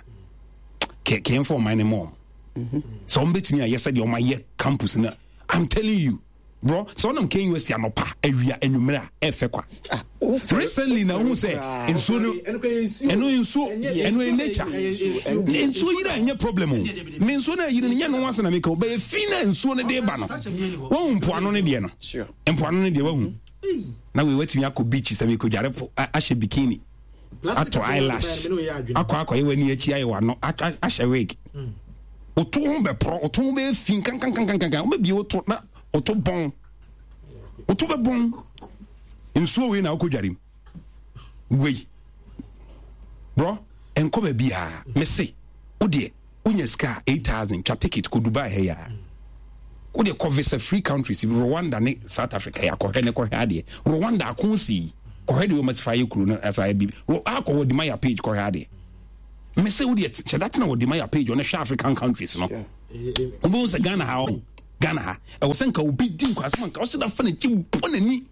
kɛ kɛnfɔ ɔman ne mɔ ɔmo sɛ ɔmo bɛtumi ayɛ sɛ deɛ ɔmo ayɛ campus no I'm telling you bro sɛ ɔnam K N U S T anɔpa awia anwummerɛ a ɛfɛ kwa ah, recently na ohun sɛ nsuo no ɛno nsuo ɛno yɛ nature nsuo yiri a ɛnyɛ problem o me nsuo no ayiri no nyɛ no ho asɛm na meka o bɛyɛ fi na nsuo no de ba no wɔn mpoano no deɛ no mpoano no deɛ wahu na wei watumi akɔ beach sɛ mekɔdware po ahyɛ bikini atɔ eyelash akɔ akɔyɛ w'ani akyi ayɛ w'ano ahyɛ wig woto ho bɛporɔ woto ho bɛyɛ fi nkankankankankan wobɛbie woto na woto bɔn woto bɛbɔn nsuo wei na wokɔdware mu wei borɔ ɛnkɔ baabiaa mese wodeɛ wonya sika a eight thousand twa ticket kɔ Dubai ha yi a Wode kɔ visa free countries, Rwanda ne South Africa, yɛ akɔhwɛ ne kɔhwɛ adeɛ. Rwanda ako si kɔhwɛ deɛ wɔn asifa ayɛ kuro no asa ayɛ bi. Akɔ wɔ dima yɛ page kɔhwɛ adeɛ. Mese wo deɛ kyɛ da tena wɔ dima yɛ page ɔno hwɛ African countries no. Wobɛhu sɛ Ghana ha ɔho Ghana ha ɛwɔ sɛ nka obi di nkwasɛm nka ɔsɛ da fa n'akyi bɔ n'ani.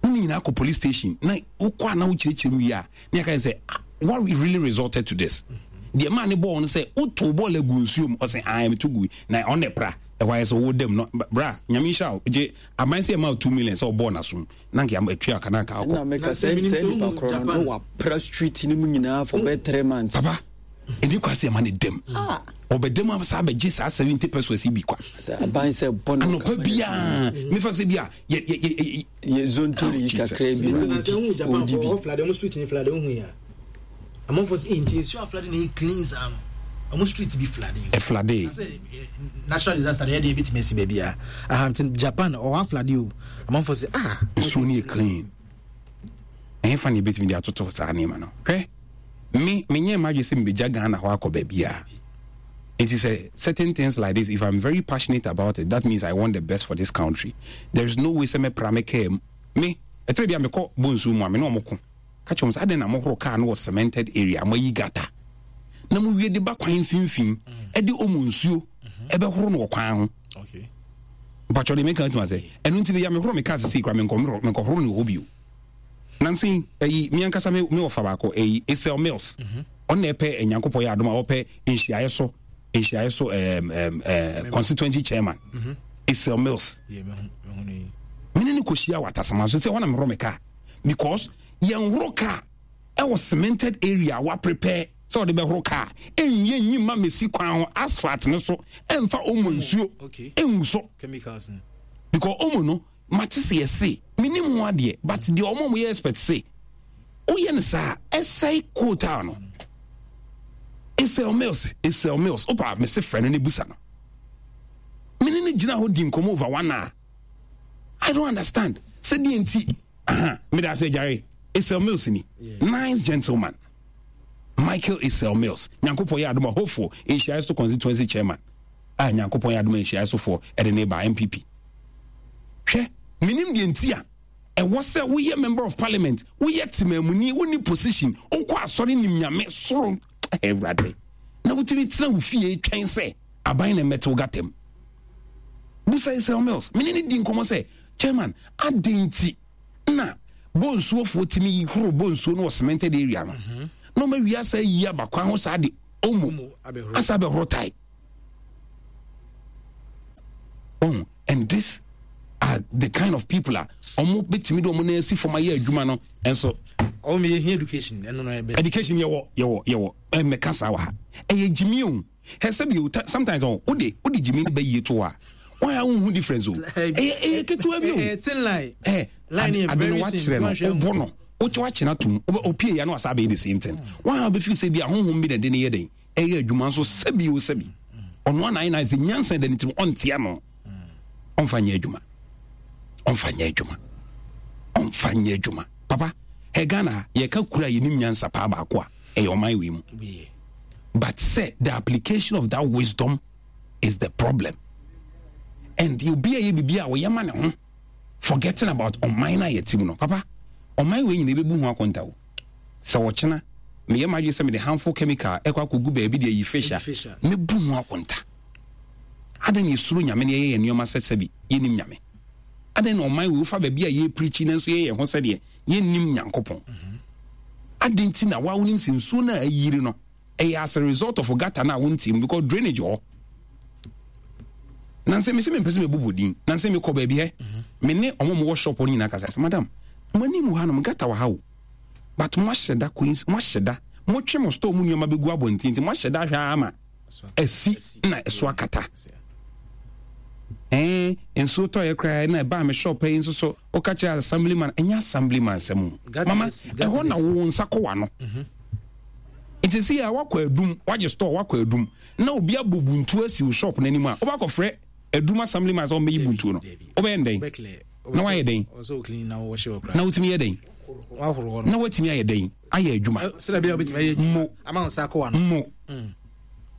Wo ne nyinaa kɔ police station na wokɔ a na wokyerɛkyerɛ mu wie a na yɛka sɛ ah, what really resulted to this? Deɛ maa ne bɔɔl no sɛ wotow bɔɔl agu nsuo mu ɔsɛ ae meto gu na ɔne pra ɛhɔ ayɛ sɛ wowɔ dam no bra nyame nhyira wo gye aban sɛ ɛma wo two million sɛ ɔbɔɔl n'asom na nka atua ka na nka akɔ ɛna meka sɛ sɛ nipa korɔ no na wapra street no mu nyinaa for bɛyɛ three months papa ɛni kwa sɛ ɛma ne dam ɔbɛdam a saa bɛgye saa seventy pesos bi kwa aban sɛ bɔ no anɔpa biaa mefa sɛ bi a yɛ yɛ yɛ yɛ zontori yi kakra bi na ɔdi ɔdi bi ɔflade ɔmo street ni flade ohun ya amanfo sɛ nti nsuo aflade na ɛyɛ clean saa no ɔmo street bi flade ɛflade natural disaster deɛ ɛdeɛ ebitumi esi baabi a aha nti Japan ɔwɔ aflade o amanfo sɛ ah nsuo no yɛ clean ɛhefa na ebetumi de atoto saa nneɛma no hwɛ me menyɛ m'adwene sɛ mebɛgya Ghana hɔ akɔ baabiara nti sɛ certain things like this if I'm very passionate about it that means I want the best for this country there is no way sɛ mɛpra me kaa mu me ɛtɛrɛ bi a mekɔ bɔ nsuo mu a me ne ɔmo ko ka kyerɛ wɔn sɛ adɛn na mohoro kaa no wɔ cemented area moayi gata na mowie de ba kwan mfimfini ɛde ɔmo nsuo ɛbɛhoro no wɔ kwan ho mpatwɔ de meka atuma sɛ ɛno nti bɛyɛ mehoro me kaa sisi kora menkɔhoro no wɔ hɔ bio nansi ɛyi mi ankasa mi mi wɔfa baako ɛyi Esel Mills ɔno na ɛpɛ Nyankopɔn yɛ adom a ɔpɛ nhyiaeɛ so nhyiaeɛ so ɛɛm ɛɛm ɛɛ constituency chairman Esel Mills mene ne kɔhyia wɔ atasama so sɛ wɔn na mehoro me kaa because yɛn horo kaa ɛwɔ cemented area wa prepare sɛ ɔde bɛhoro kaa ɛnyɛ nyi ma mesi kwan ho asphalt no so ɛnfa omo nsuo ɛngu so because omo no mate sɛ yɛse menim ho adeɛ but deɛ ɔmo ɔmo yɛ expert se woyɛ no saa ɛsɛe quota no Esel Mills Esel Mills opa mese frɛ no ne busa no mene ne gyina hɔ di nkɔmmɔ over one hour I don't understand sɛdeɛ nti aha meda ase agyare Esel Mills ni nice gentleman Michael Esel Mills Nyankopɔn yɛ adom a hopeful nhyiaeɛ so constituency chairman a Nyankopɔn yɛ adom a nhyiaeɛ sofoɔ ɛde ne ba N P P hwɛ menim deɛ nti a ɛwɔ sɛ woyɛ member of parliament woyɛ temamuni wonni position wokɔ asɔre nim nyame soro awurade na wotumi tena wo fie twɛn sɛ aban na mmɛte wo gatam busa Esel Mills mene ne di nkɔmmɔ sɛ chairman adɛn nti na bɔnsuofoɔ tumi horo bɔnsuo no wɔ cemented area no mhm. na ɔma wie asa yi aba kwan ho saa de omo asa bɛhoro tae oh and this are the kind of people a ɔmo bɛtumi de ɔmo nan asi fam ayɛ adwuma no ɛnso. Ɔmo yɛ hia education ɛno no ɛbɛ. Education yɛwɔ yɛwɔ yɛwɔ ɛmɛka saa wɔ ha ɛyɛ gyimi o hɛ sɛbi o sometimes ɔ o de o de gyimi no bɛ yie to a wɔn a wohu difference o ɛyɛ ɛyɛ ketewa bi o ɛyɛ thin line ɛ line yɛ ade no very thin wakyerɛ no ɔbɔ no wokyɛ wakyerɛ atum opie ya no asa abɛyɛ the same thing wɔn a bɛfiri sɛ bi ahohom bi na ɛde ne yɛ den ɛyɛ adwuma nso sɛbi o sɛbi ɔno ana ayɛ na sɛ nyansa da ne tirim ɔntea no ɔmfa nyɛ adwuma ɔmfa nyɛ adwuma ɔmfa nyɛ adwuma papa ɛ Ghana yɛka kura yɛnim nyansa paa baako a ɛyɛ ɔman wei mu but sɛ the application of that wisdom is the problem and obi a yɛ biribi a ɔyɛ ma ne ho forgetting about ɔman no a yɛte mu no papa ɔman wei nyina ɛbɛbu ho akonta o sɛ ɔkyena meyɛ m'adwene sɛ mede harmful chemical ɛkɔ akɔgu baabi de ayi fish a mɛbu ho akonta adɛn na yɛsuro nyame na yɛyɛ yɛn nneɛma sɛ sɛbi yɛnim nyame adɛn na ɔman wei wofa baabi a yɛpirikyi nanso yɛyɛ ho sɛdeɛ yɛnnim nyankopɔn adɛn nti na woa wonim sɛ nsuo no a ayiri no ɛyɛ as a result of gutter no a wontim because drainage hɔ nansɛ mesɛ mempɛ sɛ mebobɔ din nansɛ mekɔ baabi hɛ me ne ɔmo mowɔ shop no nyinaa kasa sɛ madam mo anim hanom gutter wɔ ha o but moahyɛ da coins moahyɛ da motwe mo store mu nneɛma bɛgu abɔnten nti moahyɛ da ahwɛ ama asi na ɛso akata ɛɛ nsuo tɔyɛ koraa na ɛbaa me shop yi nso so woka kyerɛ assemblyman ɛnyɛ assemblyman sɛm o mama ɛhɔ na wo nsa kɔ w'ano mhm. nti si a wakɔ adum wagye store wakɔ adum na obi abɔ buntu asi wo shop n'anim a wobakɔfrɛ adum assemblyman sɛ ɔmmɛyi buntuo no wobɛyɛ ndɛn na wayɛ dɛn na wotumi yɛ dɛn na watumi ayɛ dɛn ayɛ adwuma mo mo mm.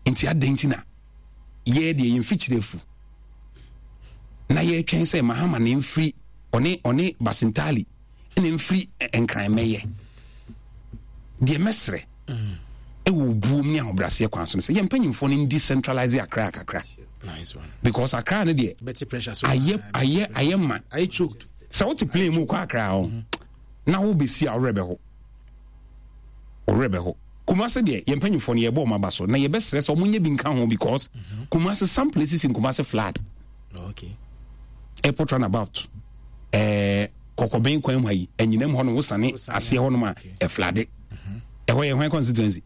Nti adɛn nti na yɛ deɛ yɛn mfikyire afu Na yɛtwɛn sɛ Mahama na mfiri ɔne ɔne Basintali na mfiri Nkran mɛyɛ. Deɛ mɛsrɛ ɛwɔ obuom ne ahobrɛaseɛ kwan so no sɛ yɛn mpanyinfoɔ no decentralize Accra kakra. Nice one. Because Accra no deɛ ayɛ ayɛ ayɛ ma. Ayɛ choked. Sɛ wote plane mu kɔ Accra hɔ na wobɛsi a worɛ bɛho. Worɛ bɛho. Kumasi deɛ yɛn mpanyinfoɔ no yɛbɔ wɔn aba so na yɛbɛsrɛ sɛ wɔn nyɛ bi nka ho because mm-hmm. Kumasi some places in Kumasi flood. Oh, okay. Airport runabout. Ɛɛ eh, kɔkɔbɛn kwan mu ha yi ɛnyinam hɔ no wosane aseɛ hɔ nom a ɛflade. Ɛhɔ yɛ hwan constituency?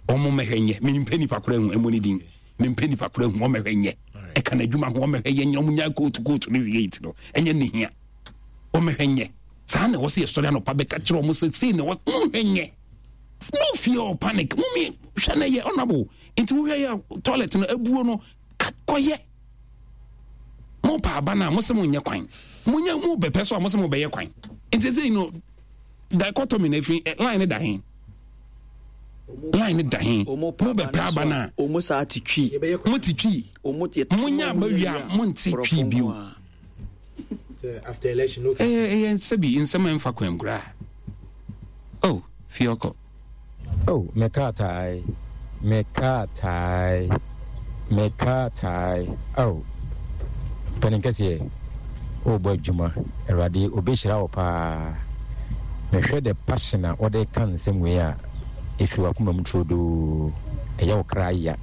Wɔn mmɛhwɛ nyɛ mempɛ nipa koro ehu ɛmo ne din mempɛ nipa koro ehu wɔn mmɛhwɛ nyɛ ɛka n'adwuma ho wɔn mmɛhwɛ yɛ nyɛ wɔn nya kootu kootu ne wie ti no ɛnyɛ ne hia wɔn mmɛhwɛ nyɛ saa na ɛwɔ sɛ yɛsɔre anɔpa bɛka kyerɛ wɔn sɛ sei na ɛwɔ wɔn hwɛ nyɛ. No fear or panic. Mummy, hwɛ na yɛ honorable. Nti wohwɛ yɛ toilet no abuo no kɔyɛ. Mo pa aba na mo sɛ mo nyɛ kwan. Mo nyɛ mo bɛpɛ so a mo sɛ mo bɛyɛ kwan. Nti sɛ you know dichotomy na efi eh, line ne da he. Line ne da he. Mo bɛpɛ aba na. Omo saa te twi. Mo te twi. Mo nya aba wie a mo nte twi bio. After election, okay. Eh, eh, sɛbi nsɛm a ɛmfa kwan koraa. Oh, fie ɔkɔ. Oh, me kaatae, me kaatae, me kaatae, oh, Panin kɛseɛ, worebɔ adwuma, Awurade ɔbɛhyira wo paa. Mehwɛ the passion a wode ka nsɛm wei a, ɛfiri w'akoma mu turodoo. Ɛyɛ wo kra ya,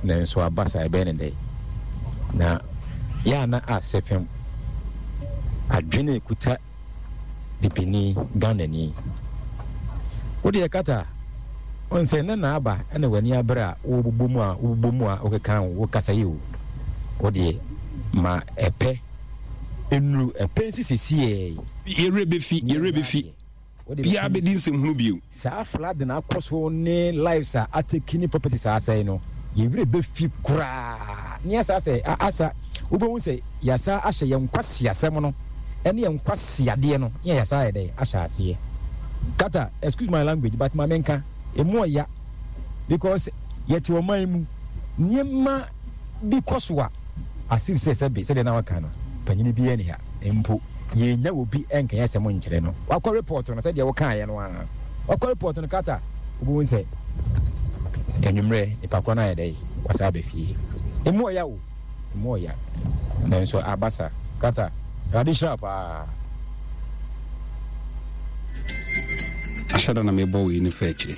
nanso aba saa, ɛbɛyɛ ne dɛn? Na yɛ a na asɛ fam, adwene ɛkuta bibini, Ghanani. Wo deɛ kata, wohu sɛ nnɛ na aba na w'ani abere a wobobɔ mu a wobobɔ mu a wokeka wo kasa yi o. Wo deɛ ma ɛpɛ nnuru, ɛpɛ nsi sesiɛ yi. Yɛ werɛ bɛfi, yɛ werɛ bɛfi. Biara bɛdi nsɛmhunu bio. Saa flooding a akɔ so ne lives a atake ne properties a asɛe no, yɛn werɛ bɛfi koraa. Ne asa sɛ, asa, wobɛhu sɛ yɛasa ahyɛ yɛn nkwaseasɛm no ne yɛn nkwaseadeɛ no, ne yɛasa ayɛ dɛn? Ahyɛ aseɛ. Kata, excuse my language, but ma menka, ɛmu ɔya because yɛte ɔman mu, nneɛma bi kɔ so a, as if sɛ sɛbe, sɛdeɛ na waka no, panyini biara nni ha mpo, yɛnnya obi nkɛyɛ asɛm nkyerɛ no. Wakɔ report no sɛdeɛ wokaeɛ no ara. Wakɔ report no kata, wobɛhu sɛ anwummerɛ nipa korɔ no ayɛ dɛn, wasan aba fie. Emu ɔya o, emu ɔya. Nanso aba sa. Kata, Awurade nhyira wo paa. Ahyɛ da na mebɔ wei no fa akyire.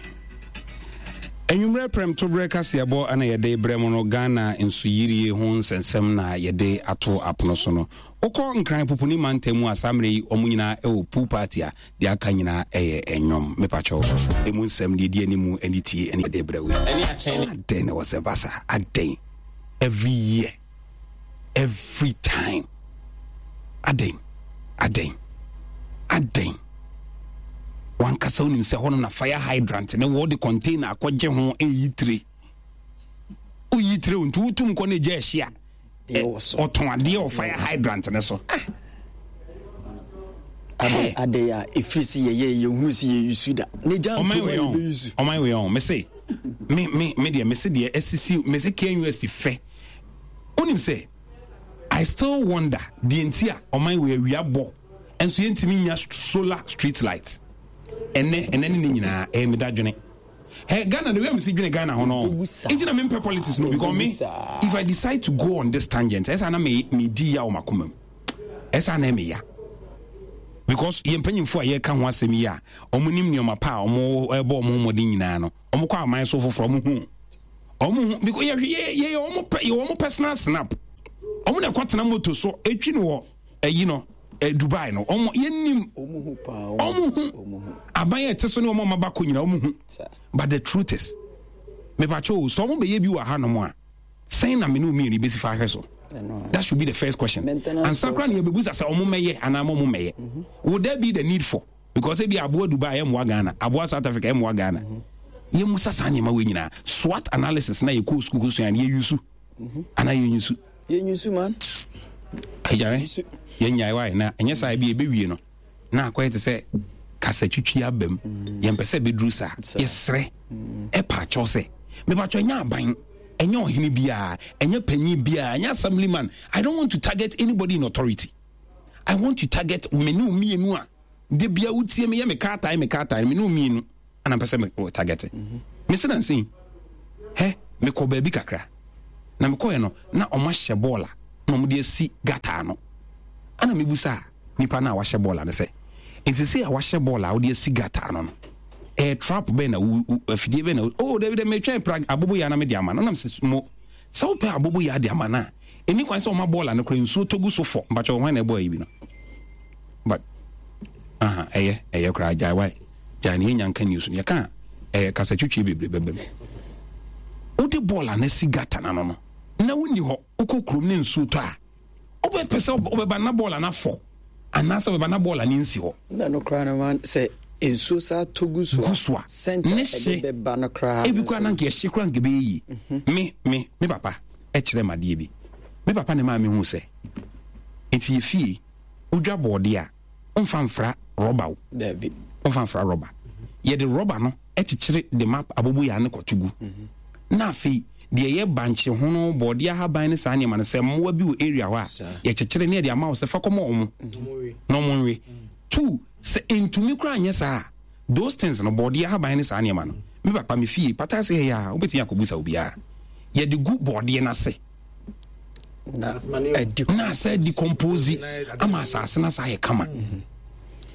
Anwummerɛ prɛmtoberɛ kaseɛbɔ na yɛde brɛ mo no. Ghana nsuyirie ho nsɛnsɛm na yɛde ato apono so no. Wokɔ Nkran Pupuni mantam mu a, saa mmerɛ yi wɔn nyinaa wɔ pool party a deɛ aka nyinaa ɛyɛ ɛnwom. Mepakyɛw, emu nsɛm deɛ ɛdi anim ne tie ɛne yɛde brɛ wo yi. Adɛn na ɛwɔ sɛ ɛba saa? Adɛn? Every year, every time. Adɛn? Adɛn? Adɛn? Wankasa wonim sɛ hɔnom na fire hydrant ne wɔde container akɔgye ho ɛyi tire. Woyi tire nti wotum kɔ ne gya ahyi a ɔtɔn adeɛ wɔ fire hydrant ne so. Ah. Ade a ɛfiri sɛ yɛyɛ yɛhu sɛ yɛyusu da ne gya ntoma yɛbɛyusu. Ɔman wei ɔn mese me me me deɛ mese deɛ asisi mese K N U S T fɛ. Wonim sɛ I still wonder deɛ nti a ɔman wei awia bɔ nso yɛntumi nya solar street light. Ɛnɛ ɛnɛ ne ne nyinaa ɛyɛ me dadwene. Hey, Ghana, the way I'm seeing Ghana, no. Nti na mempɛ politics no because me, if I decide to go on this tangent, ɛsɛ na me me di ya wɔ makoma mu. Ɛsɛ na me ya. Because yɛn mpanyinfo a yɛka ho asɛm yi a, wɔn nim nneɛma pa a wɔn ɛbɔ wɔn ho mmɔden nyinaa no, wɔn kɔ aman so foforɔ, wɔn hu. Wɔn hu because yɛ yɛ yɛ wɔn pɛ yɛ wɔn personal snap. Wɔn na ɛkɔ tena moto so etwi no wɔ ɛyi no. Eh, Dubai no ɔmo yɛnim ɔmo hu aban a ɛte so ne ɔmo ɔmo abakɔ nyina ɔmo hu, but the truth is, mepakyɛ o, sɛ ɔmo bɛyɛ bi wɔ ha nom a, sɛn na mene mmienu bɛsi fa ahwɛ so? That should be the first question ansa koraa na yɛbɛbusa sɛ ɔmo mɛyɛ anaa ɔmo mɛyɛ. Would there be the need for? Because ebi aboa Dubai ɛmmoa Ghana, aboa South Africa ɛmmoa Ghana. Yɛmusa saa nneɛma wei nyinaa. SWOT analysis na yɛkɔɔ sukuu kɔsua no, yɛyusu anaa yɛnyusu? Yɛnyusu man. Agyare yɛnyae wae na ɛnyɛ saa bi ɛbɛwie no na akɔyɛ te sɛ kasa twitwi aba mu. Yɛmpɛ sɛ ɛbɛduru saa. Yɛserɛ ɛpa akyɛw sɛ mepakyɛ ɛnyɛ aban Ɛnyɛ ɔhene biara, ɛnyɛ panyin biara, ɛnyɛ assemblyman. I don't want to target anybody in authority. I want to target me ne mmienu a de bia wotie me yɛ me kaa tae me kaa tae me ne mmienu ana mpɛ sɛ me target. Mm-hmm. Me se nansi hɛ mekɔ baabi kakra na mekɔɛ no na ɔmo ahyɛ bɔɔla na ɔmo de asi gata ano ana mebusa nipa no a wahyɛ bɔɔla no sɛ nsese a wahyɛ bɔɔla a wode asi gata ano no ɛyɛ trap bɛn na wo afidie bɛn na oh dabi dɛ metwɛn pra abobo yɛ na mede ama no nam sɛ mo sɛ wopɛ abobo yɛ ade ama no a ɛni kwan sɛ ɔma bɔɔla no kora nsuo tɔ gu so fɔ mpakyɛ hwan na ɛbɔ ayi bi no but aha ɛyɛ ɛyɛ koraa gyae wae gyae ne yɛnya nka news no yɛka ɛyɛ kasa twitwie bebree bɛbɛ mu wode bɔɔla no asi gata no ano no na wonni hɔ wokɔ kurom ne nsuo tɔ a wobɛpɛ sɛ wobɛba na bɔɔla no afɔ anaasɛ wobɛba na bɔɔla no nsi hɔ. Na no koraa no ma sɛ nsuo saa tɔ gu so a, so a sɛnta ne hye ɛde bɛba no koraa ebi koraa na nka ɛhye koraa nka ɛbɛyɛ yie. Mhm. Me me me papa ɛkyerɛ me adeɛ bi. Me papa na ɛmaa me hu sɛ nti yɛ fie wodwa bɔɔdeɛ a womfa mfra rɔba o. Dabi. Womfa mfra rɔba. Yɛde rɔba no kyekyere de ma aboboyaa no kɔto gu. Na afei deɛ ɛyɛ bankye hono, bɔɔdeɛ ahaban ne saa nneɛma no, sɛ mmoa bi wɔ area hɔ a, yɛkyekyere ne yɛde ama wo sɛ fa kɔma wɔn na wɔn nwe. Two, sɛ ntumi koraa nyɛ saa a, those things no, bɔɔdeɛ ahaban ne saa nneɛma no, me papa me fie pata ase ha yi a, wobɛtumi akɔbusa obiara. Yɛde gu bɔɔdeɛ no ase. Na na asɛ decompose ama asase no asa ayɛ kama.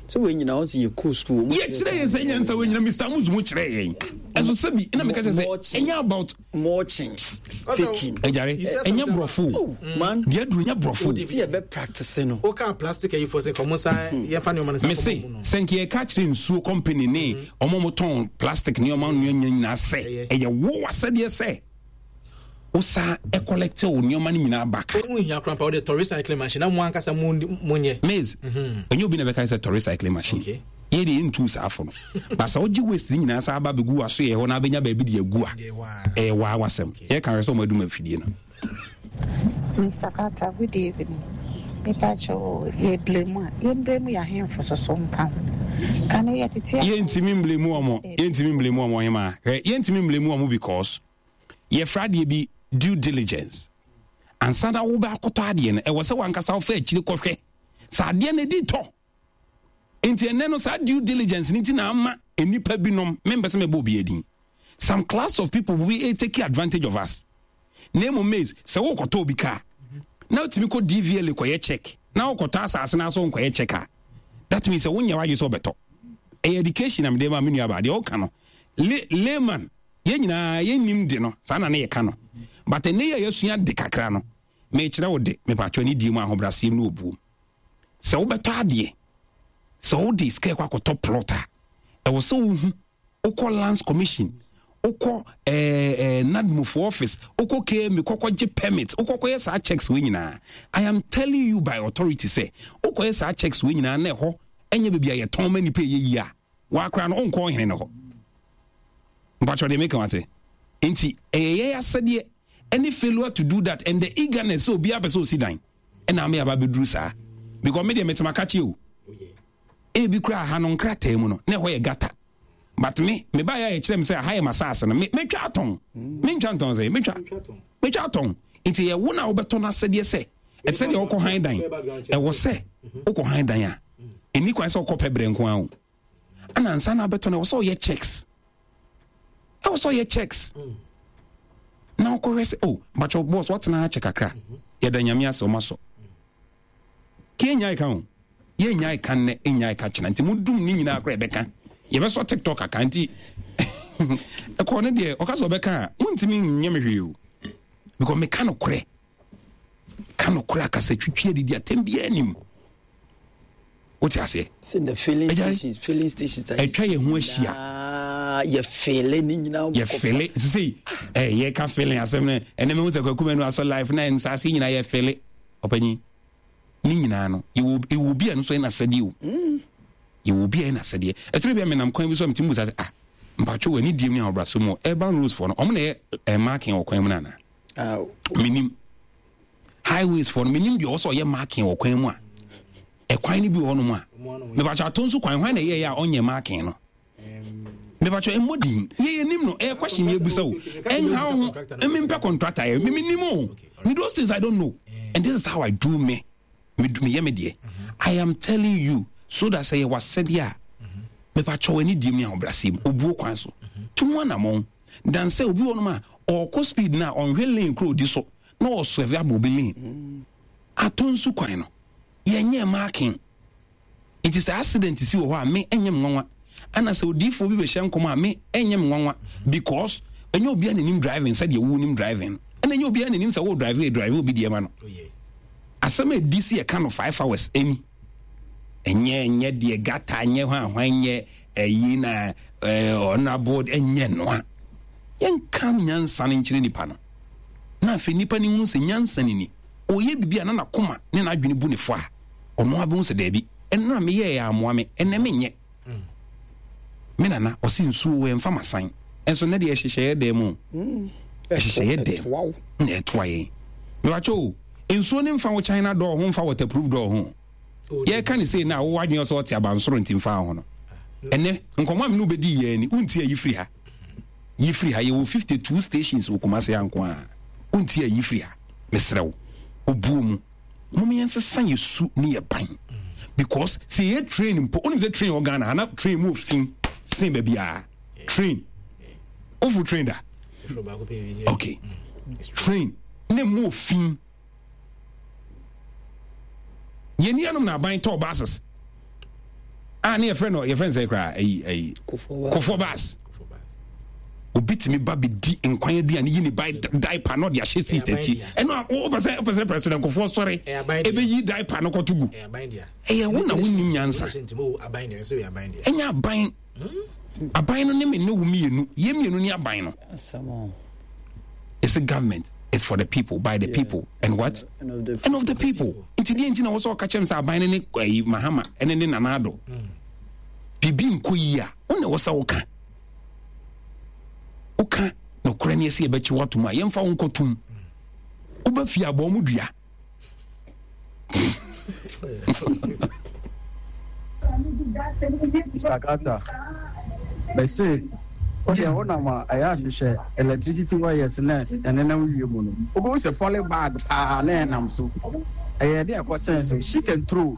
Sɛ wɔn nyinaa wɔn sɛ yɛ kɔ sukuu. Yɛ kyerɛ yɛn sɛ nyansa wɔn nyinaa Mister Amuzu mu kyerɛ yɛn. Ɛso sɛbi ɛna meka kyerɛ sɛ ɛnyɛ about. Mulching staking. Ɛgyare ɛnyɛ borɔfo. Oh man. Deɛ aduru nyɛ borɔfo. Si yɛ bɛ practice no. O ka plastic ayi fɔ sɛ kɔmɔ sa yɛn fa nneɛma no sa kɔmɔ mu no. Mese sɛ nka yɛ ka kyerɛ nsuo company ne ɔmo mo tɔn plastic nneɛma nneɛma nyinaa sɛ ɛyɛ wo asɛdeɛ sɛ. Wosa collect wo nneɛma no nyinaa back. Wo nhia koraa mpa wode tɔ recycling machine na mo ankasa mo mo nyɛ. Maize, ɛnyɛ obi na bɛka sɛ tɔ recycling machine. Okay. Yɛ deɛ yɛntu saa fo no. Ba sɛ wogye waste no nyinaa saa ba bɛgu w'aso yɛ hɔ na abɛnya baabi de agu a, ɛyɛ waa w'asɛm. Yɛka hwɛ sɛ wɔn adum afidie no. Mister Carter, good evening. Mepa kyɛw o, yɛ blame a, yɛn blame yɛ ahemfo soso nka ho. Kane yɛ tete a. Yɛntumi mblame wɔn, yɛntumi mblame wɔn ɔhemaa. Hwɛ, yɛntumi mblame wɔn because yɛfrɛ adeɛ bi due diligence. Ansa na wobɛ akɔtɔ adeɛ no, ɛwɔ sɛ wankasa wofa akyire kɔhwɛ sɛ adeɛ no di tɔ. Nti ɛnɛ no saa due diligence no nti na ama nnipa binom, mempɛ sɛ mɛbɔ obi adin, some class of people will be take advantage of us. Na mmom maize, sɛ wokɔtɔ obi kaa na wotumi kɔ D V L A kɔyɛ check na wokɔtɔ asase no aso nkɔyɛ check a, that means sɛ wonyɛ w'adwene sɛ wobɛtɔ. Ɛyɛ education na mede ma me nuabaa. Deɛ woka no, layman, yɛn nyinaa yɛnnim de no, saa na ne yɛka no. But ɛnɛ yi a yɛasua de kakra no, mekyerɛ wo de, mepatwɔ ne die mu ahobrɛaseɛ mu ne obuom. Sɛ wobɛtɔ adeɛ, sɛ wode sika kɔ akɔtɔ plot a, ɛwɔ sɛ wohu, wokɔ Lands Commission, wokɔ eh, eh, NADMOfoɔ office, wokɔ K M A, kɔkɔgye permit, wokɔkɔyɛ saa checks wei nyinaa. I am telling you by authority sɛ, wokɔyɛ saa checks wei nyinaa na ɛhɔ ɛnyɛ baabi a yɛtɔn ma nipa ɛyɛ yie a, wakora no wonkɔ ɔhene no hɔ. Mpakyɛ deɛ meka wate. Nti ɛyɛ yɛn asɛdeɛ ɛne failure to do that and the eagerness sɛ obiara pɛ sɛ osi dan ɛna ama yɛaba abɛduru saa. Because me deɛ metema kakye o. Ebi koraa ha no nkrataa mu no na ɛhɔ yɛ gata. But me me ba yɛ a yɛkyerɛ me sɛ aha yɛ m'asaase no me metwa atɔn. Mentwa ntɔn sɛ metwa metwa atɔn. Nti yɛ wo na wobɛtɔ no asɛdeɛ sɛ ɛte sɛ deɛ wokɔ han dan. Ɛwɔ sɛ wokɔ han dan a ɛni kwan sɛ wokɔ pɛ berɛ nko ara o. Ɛna ansa na abɛtɔ no ɛwɔ sɛ ɔyɛ checks. Ɛwɔ sɛ ɔyɛ checks. Na wokɔhwɛ sɛ oh bakyɛ boss watena ha kyɛ kakra. Yɛda Nyame ase ɔma sɔ. Ke yɛnyae ka o. Yɛnyae ka nnɛ, yɛnyae ka kyena. Nti modum ne nyinaa koraa yɛbɛka. Yɛbɛsɔ TikTok aka nti ɛkɔɔ no deɛ ɔka sɛ ɔbɛka a montumi nyɛ me hwee o. Because meka nokorɛ. Ka nokorɛ akasa twitwi adidi atɛm biara nim. Wote aseɛ? Sɛ the filling stations, filling stations. Atwa yɛn ho ahyia. Yɛ fele ne nyinaa. Yɛ fele sisi ɛ yɛ ka fele asɛm no ɛnɛ mehu sɛ Kwaku Manu asɔ life na nsaase nyinaa yɛ fele ɔpanyin ne nyinaa no yɛwɔ yɛwɔ obi a no so yɛ n'asɛdeɛ o. Mm. Yɛwɔ obi a yɛ n'asɛdeɛ. Ɛtumi bi a menam kwan bi so a metumi busa sɛ ah mpatwo wɔ ani diem ne ahobrɛaso mu urban roads foɔ no ɔmo na yɛ ɛ marking wɔ kwan mu no anaa? Ah, Menim. Highways foɔ no menim deɛ ɔwɔ sɛ ɔyɛ marking wɔ kwan mu a ɛkwan no bi wɔ hɔnom a mepakyɛ ato nso kwan hwan na ɛyɛyɛ a ɔnyɛ marking no. Mebatwɛ mmɔ din. Yɛ yɛ nim no. Ɛyɛ question yɛ busa o. Ɛnha ho. Ɛmi mpɛ contractor yɛ. Mimi nim o. Me those things I don't know. And this is how I do me. Me me yɛ me deɛ. I am telling you so that sɛ yɛ wasɛdeɛ a. Mebatwɛ wɔ ani die mu ne ahobrɛaseɛ mu. Obuo kwan so. Tu ho anamɔn. Dan sɛ obi wɔ nom a ɔkɔ speed na ɔnhwɛ lane koro odi so na ɔswerve abɔ obi lane. Atɔ nsu kwan no. Yɛnyɛ marking. Nti sɛ accident si wɔ hɔ a me ɛnyɛ me nwanwa. Ɛna sɛ odiifoɔ bi bɛhyɛ nkɔm a me ɛnyɛ me nwanwa because ɛnyɛ obiara na nim driving sɛdeɛ wo nim driving. Ɛna ɛnyɛ obiara na nim sɛ wo drive yɛ drive obi deɛ ma no. Asɛm a ɛdi si ɛka no five hours ɛni. Ɛnyɛ ɛnyɛ deɛ gata ɛnyɛ hwan hwan ɛnyɛ ɛyi na honorable ɛnyɛ noa. Yɛnka nyansa no nkyerɛ nipa no. Na afei nipa no hunu sɛ nyansa no ni. Ɔyɛ biribi a na n'akoma ne n'adwene bu ne fɔ a, ɔno ara bɛhu sɛ daabi, ɛno a meyɛɛ ammoa me, ɛnnɛ menyɛ. Me nana, ɔse nsuo wɔ ɛmfa m'asan. Ɛnso nnɛ deɛ ɛhyehyɛ yɛ dɛm o. Ɛhyehyɛ yɛ dɛm na ɛtoa yɛn. Mewakyɛ o, nsuo no mfa wo China door ho mfa waterproof door ho. Yɛka ne sei na wowɔ adwene sɛ ɔte abansoro nti mfa ho no. Ɛnɛ, nkɔmmɔ a me ne wobɛdi yɛn ni, wonti ayi firi ha. Yi firi ha, yɛwɔ fifty two stations wɔ Kumasi ha nko ara. Wonti ayi firi ha. Mesrɛ wo, obuo mu. Mom yɛnsesa yɛ su ne yɛ ban. Because sɛ yɛ train mpo, wonim sɛ train wɔ Ghana ha na train mu ofin sen baabiara. Train. Wofo train da? Okay. Train ne mu ofin. Yɛn nuanom na aban tɔɔ buses a ne yɛfrɛ no yɛfrɛ no sɛ koraa ayi ayi kofoɔ bus obi tumi ba bɛdi nkwan aduane yi ne ba diaper na ɔde ahyɛ seat akyi ɛno a wopɛ sɛ wopɛ sɛ president kofoɔ sɔre ɛbɛyi diaper no kɔto gu ɛyɛ wo na wonim nyansa ɛnyɛ aban aban no ne me ne wo mmienu yɛ mmienu ne aban no. It's a government. It's for the people, by the yeah. people, and what? And of the, and of the people. Nti deɛ nti na wɔsɛ ɔka kyerɛ m sɛ aban no ne ayi Mahama ɛne ne Nana Addo. Biribi nkɔ yie a, wo na wɔsɛ woka. Woka nokorɛ ne ɛsɛ yɛbɛkye woatom a, yɛmfa wo nkɔtom. Woba fie abɔ mu dua. Mister Carter, mese wo deɛ wonam a ɛyɛ ahwehwɛ electricity wires na ɛnenam wie mu no, wobɛhu sɛ poly bag paa na ɛnam so. Ɛyɛ de ɛkɔ sɛn so, shit and throw.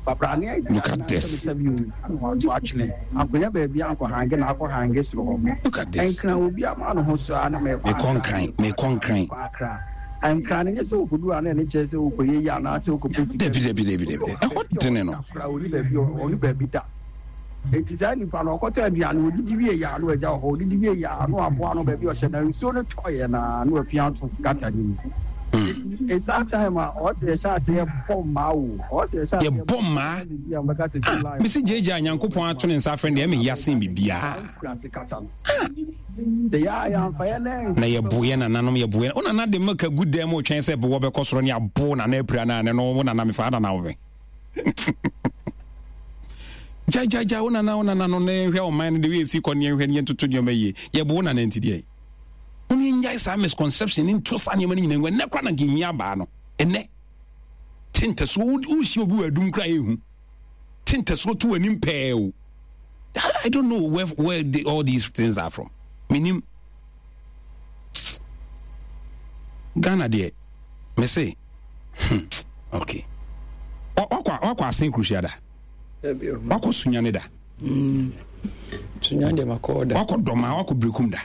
Babrane Look at this. Wato atwene. Akonya baabi ankɔ hange na akɔ hange soro hɔ. Look at this. Nkran obi ama no ho so a na mekɔ. Mekɔ nkran, mekɔ nkran. Akra. Nkran no nyɛ sɛ okodu a na ɛne kyerɛ sɛ okɔyɛ yi anaasɛ okɔpɛ sika. Dabi dabi dabi dabi. Ɛhɔ dene no. Akra ɔni baabi ɔni baabi da. Eti saa nipa no ɔkɔtɔ aduane odidi wie yɛ a na wagya wɔ hɔ odidi wie yɛ a na waboa no baabi ɔhyɛ na nsuo no tɔ yɛ na na wapia ato gata no mu. Eti saa time a ɔsɛ yɛhyɛ ase yɛbɔ mmaa o ɔsɛ yɛhyɛ ase yɛbɔ mmaa. Ah mesi gyegye a Nyankopɔn ato ne nsa afrɛ no deɛ ɛmɛ ya sen biribiara. Na yɛbo yɛ nananom yɛbo yɛ wo nana de milk agu dan mu twɛn sɛ bowɔ bɛkɔ soro ne abo nana apira no a ne no wo nana mefa nana wo me gyagyagya wo nana wo nana no na yɛnhwɛ ɔman no de wei ɛsi kɔ ne yɛnhwɛ ne yɛntoto nneɛma yie yɛbo wo nana nti deɛ wo ne yɛnyae saa misconception ne nto saa nneɛma no nyina ngu ɛnɛ kora na nka ɛhia abaa no ɛnɛ te ntasuo wohyia obi wɔ adum kora ɛhu te ntasuo to w'anim pɛɛ o I don't know where, where the, all these things are from. Menim Ghana deɛ me se hmm, okay wakɔ wakɔ asen kuruhyia da wakɔ sunyane da mm. sunyane deɛ makɔ da wakɔ dɔma wakɔ berekum da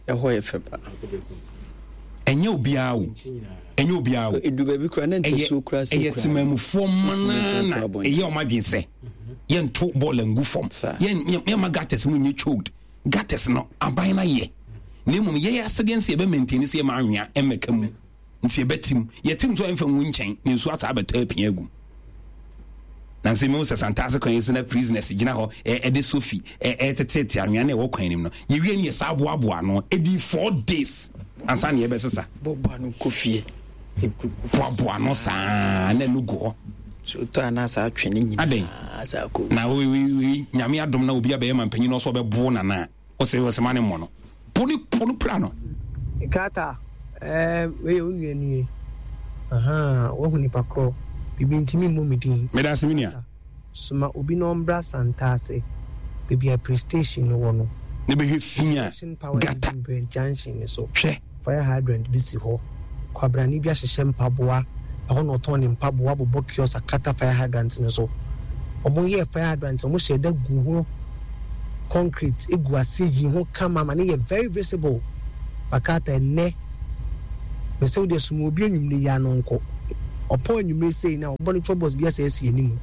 ɛhɔ yɛ fɛ paa ɛnyɛ obiara o ɛnyɛ obiara o edu baabi kura ne ntasuo kura se ɛyɛ temamufoɔ mmanaa na ɛyɛ ɔmo adwene sɛ yɛnto bɔɔl ngu fam yɛn yɛn gutters mu nyɛ choked gutters no aban na yɛ na mmom yɛyɛ asɛdeɛ nso yɛbɛ maintain sɛ yɛma anwea mmɛka mu nti yɛbɛtim yɛtim nso ɛmfa ngu nkyɛn na nsuo asaa bɛtɔ apia agu na nsɛ mehu sɛ santase kwan yi sɛ na prisoners gyina hɔ ɛde sofi ɛtetetete anwea na ɛwɔ kwan nim no yɛwie ne yɛsaa boaboa ano ɛdi four days ansa ne yɛbɛsesa boaboa no kɔ fie boaboa no saa na ɛno gu hɔ so tɔ anaa saa twe ne nyinaa saa kɔ na wei nyame adom na obi abɛyɛ ma mpanyin no ɔsɛ ɔbɛbo nana ɔsɛ ɔsɛ ma ne mmɔ no po ne po no pira no. Carter, ɛɛ wei yɛ wo nua nie. Ahaa, woahu nipa korɔ. Biribi nti memmɔ me din. Meda ase me nua. Soma obi na ɔmbra Santase, baabi a pre station no wɔ no. Ne bɛhwɛ fi a gata. Junction ne so. Hwɛ. Fire hydrant bi si hɔ. Kwabrane bi ahyehyɛ mpaboa. Ɛhɔ na ɔtɔn ne mpaboa abobɔ kiosk akata fire hydrant no so. Wɔyɛɛ fire hydrant no, wɔhyɛɛ da guu ho concrete gu aseɛ yii ho kama ma no yɛ very visible. Bakata ɛnnɛ, mese wo deɛ soma obi anwummere yi ano nkɔ. Ɔpɔn anwummere sei na ɔbɔ ne chop box bi asɛ asi anim.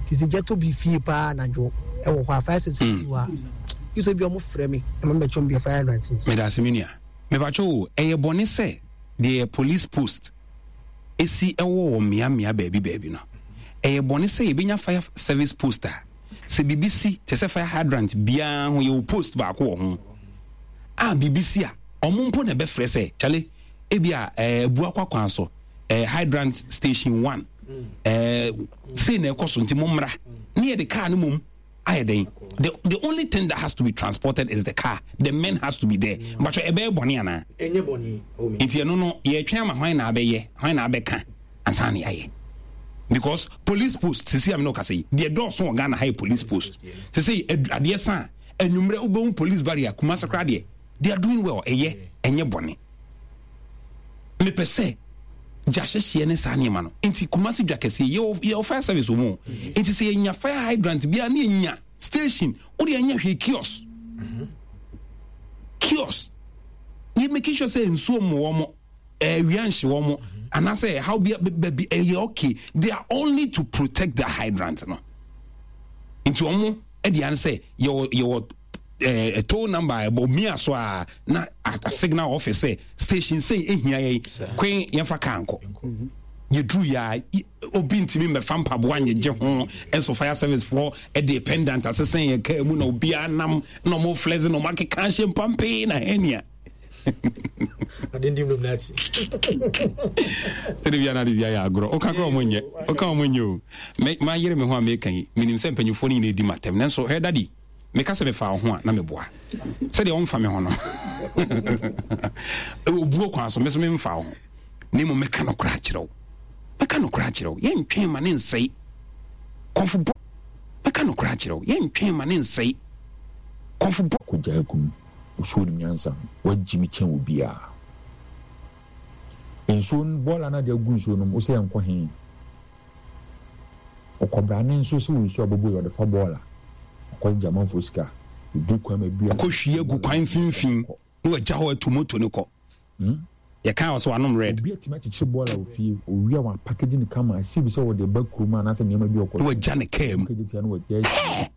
Nti sɛ gya tɔ bi fie paa anadwo ɛwɔ hɔ a fire service fi hɔ a, gye sɛ bi a wɔfrɛ me ma mebɛkyɛ wɔn bia fire hydrant nsi. Medase me nua. Mepakyɛw o, ɛyɛ bɔne sɛ deɛ yɛ police post si wɔ wɔ mmea mmea baabi baabi no, ɛyɛ bɔne sɛ yɛbɛnya fire service post a sɛ biribi si te sɛ fire hydrant biara ho yɛwɔ post baako wɔ ho a biribi si a ɔmo mpo na ɛbɛfrɛ sɛ kyale ebi a ɛɛ abua kwakwan so ɛɛ hydrant station one ɛɛ sei na ɛkɔ so nti mo mmra ne yɛde kaa no mom ayɛ dɛn the the only thing that has to be transported is the car the men has to be there mpatwɛ ɛbɛyɛ bɔne anaa ɛnyɛ bɔne nti ɛno no yɛtwɛn ama hwan na abɛyɛ hwan na abɛka ansa na yɛayɛ because police post sisi a mi na ɔkasa yi deɛ dɔɔso wɔ Ghana ha yɛ police post sisi adeɛ san anwummerɛ wobɛhu police barrier Kumasi koraa deɛ they are doing well ɛyɛ ɛnyɛ bɔne mepɛ sɛ gya hyehyeɛ ne saa nneɛma no nti Kumasi dwa kɛseɛ yɛwɔ yɛwɔ fire service wɔ mu nti sɛ yɛnya fire hydrant biara ne yɛnya station wode yɛnyɛ hwee kiosk kiosk yɛ making sure sɛ nsuo mu wɔn mo ɛwia nhye wɔn mo anaasɛ ɛhaw bi baabi ɛyɛ okay they are only to protect the hydrant no nti wɔn mo ɛde ano sɛ yɛwɔ yɛwɔ ɛɛ eh, toll number ɛbɔ mia so a na a signal office sɛ station sɛ ehia yɛn kwen yɛnfa kaa nkɔ yɛduru yɛ a obi ntumi mmɛfa mpaboa nyegye ho ɛnso fire service foɔ ɛde pendant asesɛn yɛ kaa mu na obiara nam na ɔmo flɛse na ɔmo akeka ahyɛ mpampee na hɛnia sɛde bia na ade bia yɛ agorɔ woka kora ɔmo nyɛ woka ɔmo nyɛ o mayere me ho a meka yi menim sɛ mpanyimfoɔ no nyina ɛdi matɛm nanso hwɛ dadi meka sɛ mefa wo ho a na meboa sɛdeɛ ɔmfa me ho no obuo kwan so me so memfa wo ho na mmom mɛka nokorɛ akyerɛ wo mɛka nokorɛ akyerɛ wo yɛntwɛn ma ne nsɛe kɔmfo bɔ mɛka nokorɛ akyerɛ wo yɛntwɛn ma ne nsɛe kɔmfo bɔ Kogyaa kum osuo nim nyansa wagyi me kyɛn obiaa nsuo no bɔɔla no ade agu nsuo no mu wosɛ yɛnkɔ he Ɔkwabrane nso sɛ ɔresu abobo yi, ɔde fa bɔɔla. Ɔkɔgyegye amanfoɔ sika. Ɔduru kwan mu a, ebi a. Ɔkɔhwie agu kwan mfimfini na wagya hɔ atu moto no kɔ. Yɛkaa wɔ sɛ wanom red. Obi atumi akyekyere bɔɔla wɔ fie, ɔwie a wapakegye no kama, asi bi sɛ ɔde reba kurom anaasɛ nneɛma bi a ɔkɔtɔ. Na wagya ne kaa mu. Ɔkɔgye tia na wagya asi hɔ.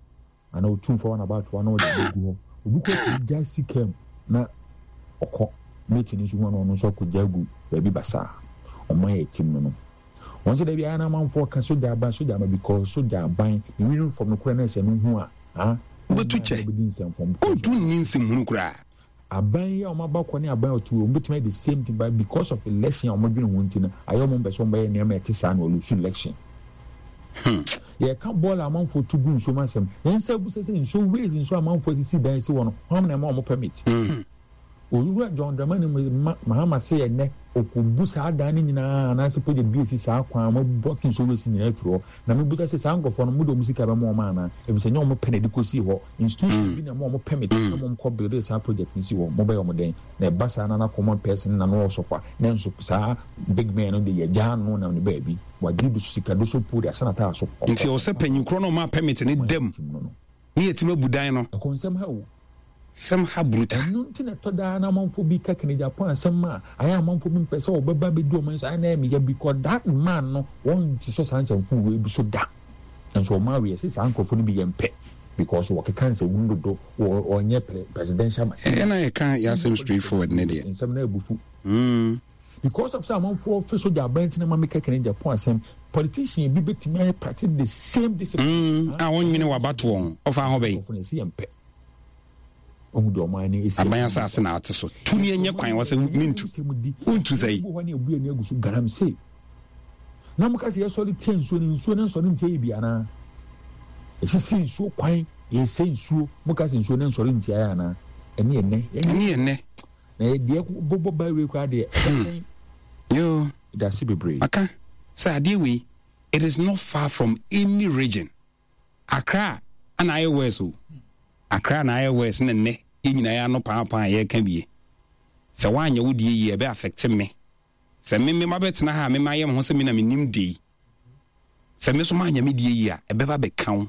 Anaa ɔtu mfa hɔ na abatoa na ɔde abɛgu hɔ. Obi koraa tumi gya si kaa mu na ɔkɔ. Mate no nso hu a na ɔno nso akɔgya agu baabi basaa. Ɔman a ɛtim no no. Wɔn sɛ dabi ayɛ na amanfoɔ ka sogya aban sogya aban because sogya aban ne uniform no koraa na ɛhyɛ no ho a ah Wobɛtu kyɛ wontu nni nsɛmhunu koraa. Aban yi a wɔn aba kɔ ne aban a ɔte hɔ wɔn bɛtumi ayɛ the same thing but because of election a wɔn dwene ho nti no ayɛ wɔn mpɛ sɛ wɔn bɛyɛ nneɛma a ɛte saa na wɔlose election. Hmm. Yɛka bɔɔl a amanfoɔ tu gu nsuom asɛm yɛn nsa abusa sɛ nsuo ways nsuo a amanfoɔ asisi dan si hɔ no hwan na ɛma wɔn permit. Hmm. Owura John Dramani Mahama se ɛnnɛ ɔkɔbu saa dan no nyinaa anaasɛ project bi a ɛsi saa kwan a wɔabu Akin Sowesi nyinaa afiri hɔ. Na mebisa sɛ saa nkurɔfoɔ no mode wɔn sika bɛma wɔn anaa? Ɛfiri sɛ ɛnyɛ wɔn pɛ na ɛde kɔsii hɔ. Institution bi na ɛma wɔn permit na wɔn kɔ buildee saa project no si hɔ. Mobɛyɛ wɔn dɛn? Na ɛba saa na na common person na na ɔsɔfa nanso saa big man no de yɛgyaa no nam ne baabi. Wagye bi so sika doso puo de ahyɛ n'ataa so. Nti ɛwɔ sɛ panyin korɔ no a ɔmaa permit no da mu ne yɛtumi abu dan no. Ɛkɔ nsɛm ha o. Sɛm ha brutal. Ɛno nti na ɛtɔ daa na amanfoɔ bi ka Kennedy Aponah asɛm a ayɛ a amanfoɔ bi mpɛ sɛ ɔbɛba abɛdi wɔn ani so ayɛ na ɛyɛ me ya because that man no wɔnsosɔ saa nsɛmfuu wei bi so da nso ɔmaa wei yɛse saa nkorɔfoɔ no bi yɛmpɛ because wɔkeka nsɛmhunu dodo wɔ ɔnyɛ presidential material. Ɛyɛ na yɛka yɛasɛm straight forward ne deɛ. Nsɛm no abufu. Because of sɛ amanfoɔ fe sogya aban nti na ma meka Kennedy Aponah asɛm politician bi bɛtumi ayɛ practice the same discipline. Mm, a wɔnwene w'abatoɔ ho ɔfa ho bɛyi. Nkorɔfoɔ no yɛse yɛmpɛ. Ɔhu deɛ ɔman no esi. Aban asase na ate so. Tu ne ɛnyɛ kwan wɔ sɛ mentu. Wontu sɛ yi. Hɔ ne ebu ani agu so galamsey. Na mo ka sɛ yɛsɔre tia nsuo no nsuo no nsɔre ntia yɛ bi anaa? Esisi nsuo kwan yɛsɛ nsuo mo ka sɛ nsuo no nsɔre ntia yɛ anaa? Ɛne ɛnɛ. Ɛne ɛnɛ. Na yɛ deɛ bɔbɔ ba wei koraa deɛ ɛbɛkyɛn. Yoo. Dase bebree. Maka sɛ adeɛ wei it is not far from any region. Accra ana ayɛ worse o. Accra na ayɛ worse na nnɛ Yɛn nyinaa yɛ ano paapaa a yɛreka bie. Sɛ woanyɛ wo deɛ yie a, ɛbɛ affect me. Sɛ me me mabɛtena ha a, me mayɛ me ho sɛ me na menim deɛ yi. Sɛ me nso manyɛ me deɛ yie a, ɛbɛba bɛka wo.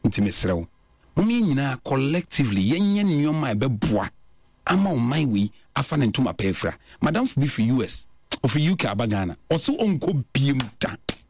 Nti mesrɛ wo, mom yɛn nyinaa collectively yɛnyɛ nneɛma a ɛbɛboa ama ɔman wei afa ne ntoma pa afira. Madamfo bi firi U S, ɔfiri U K aba Ghana, ɔse ɔnkɔ biem da.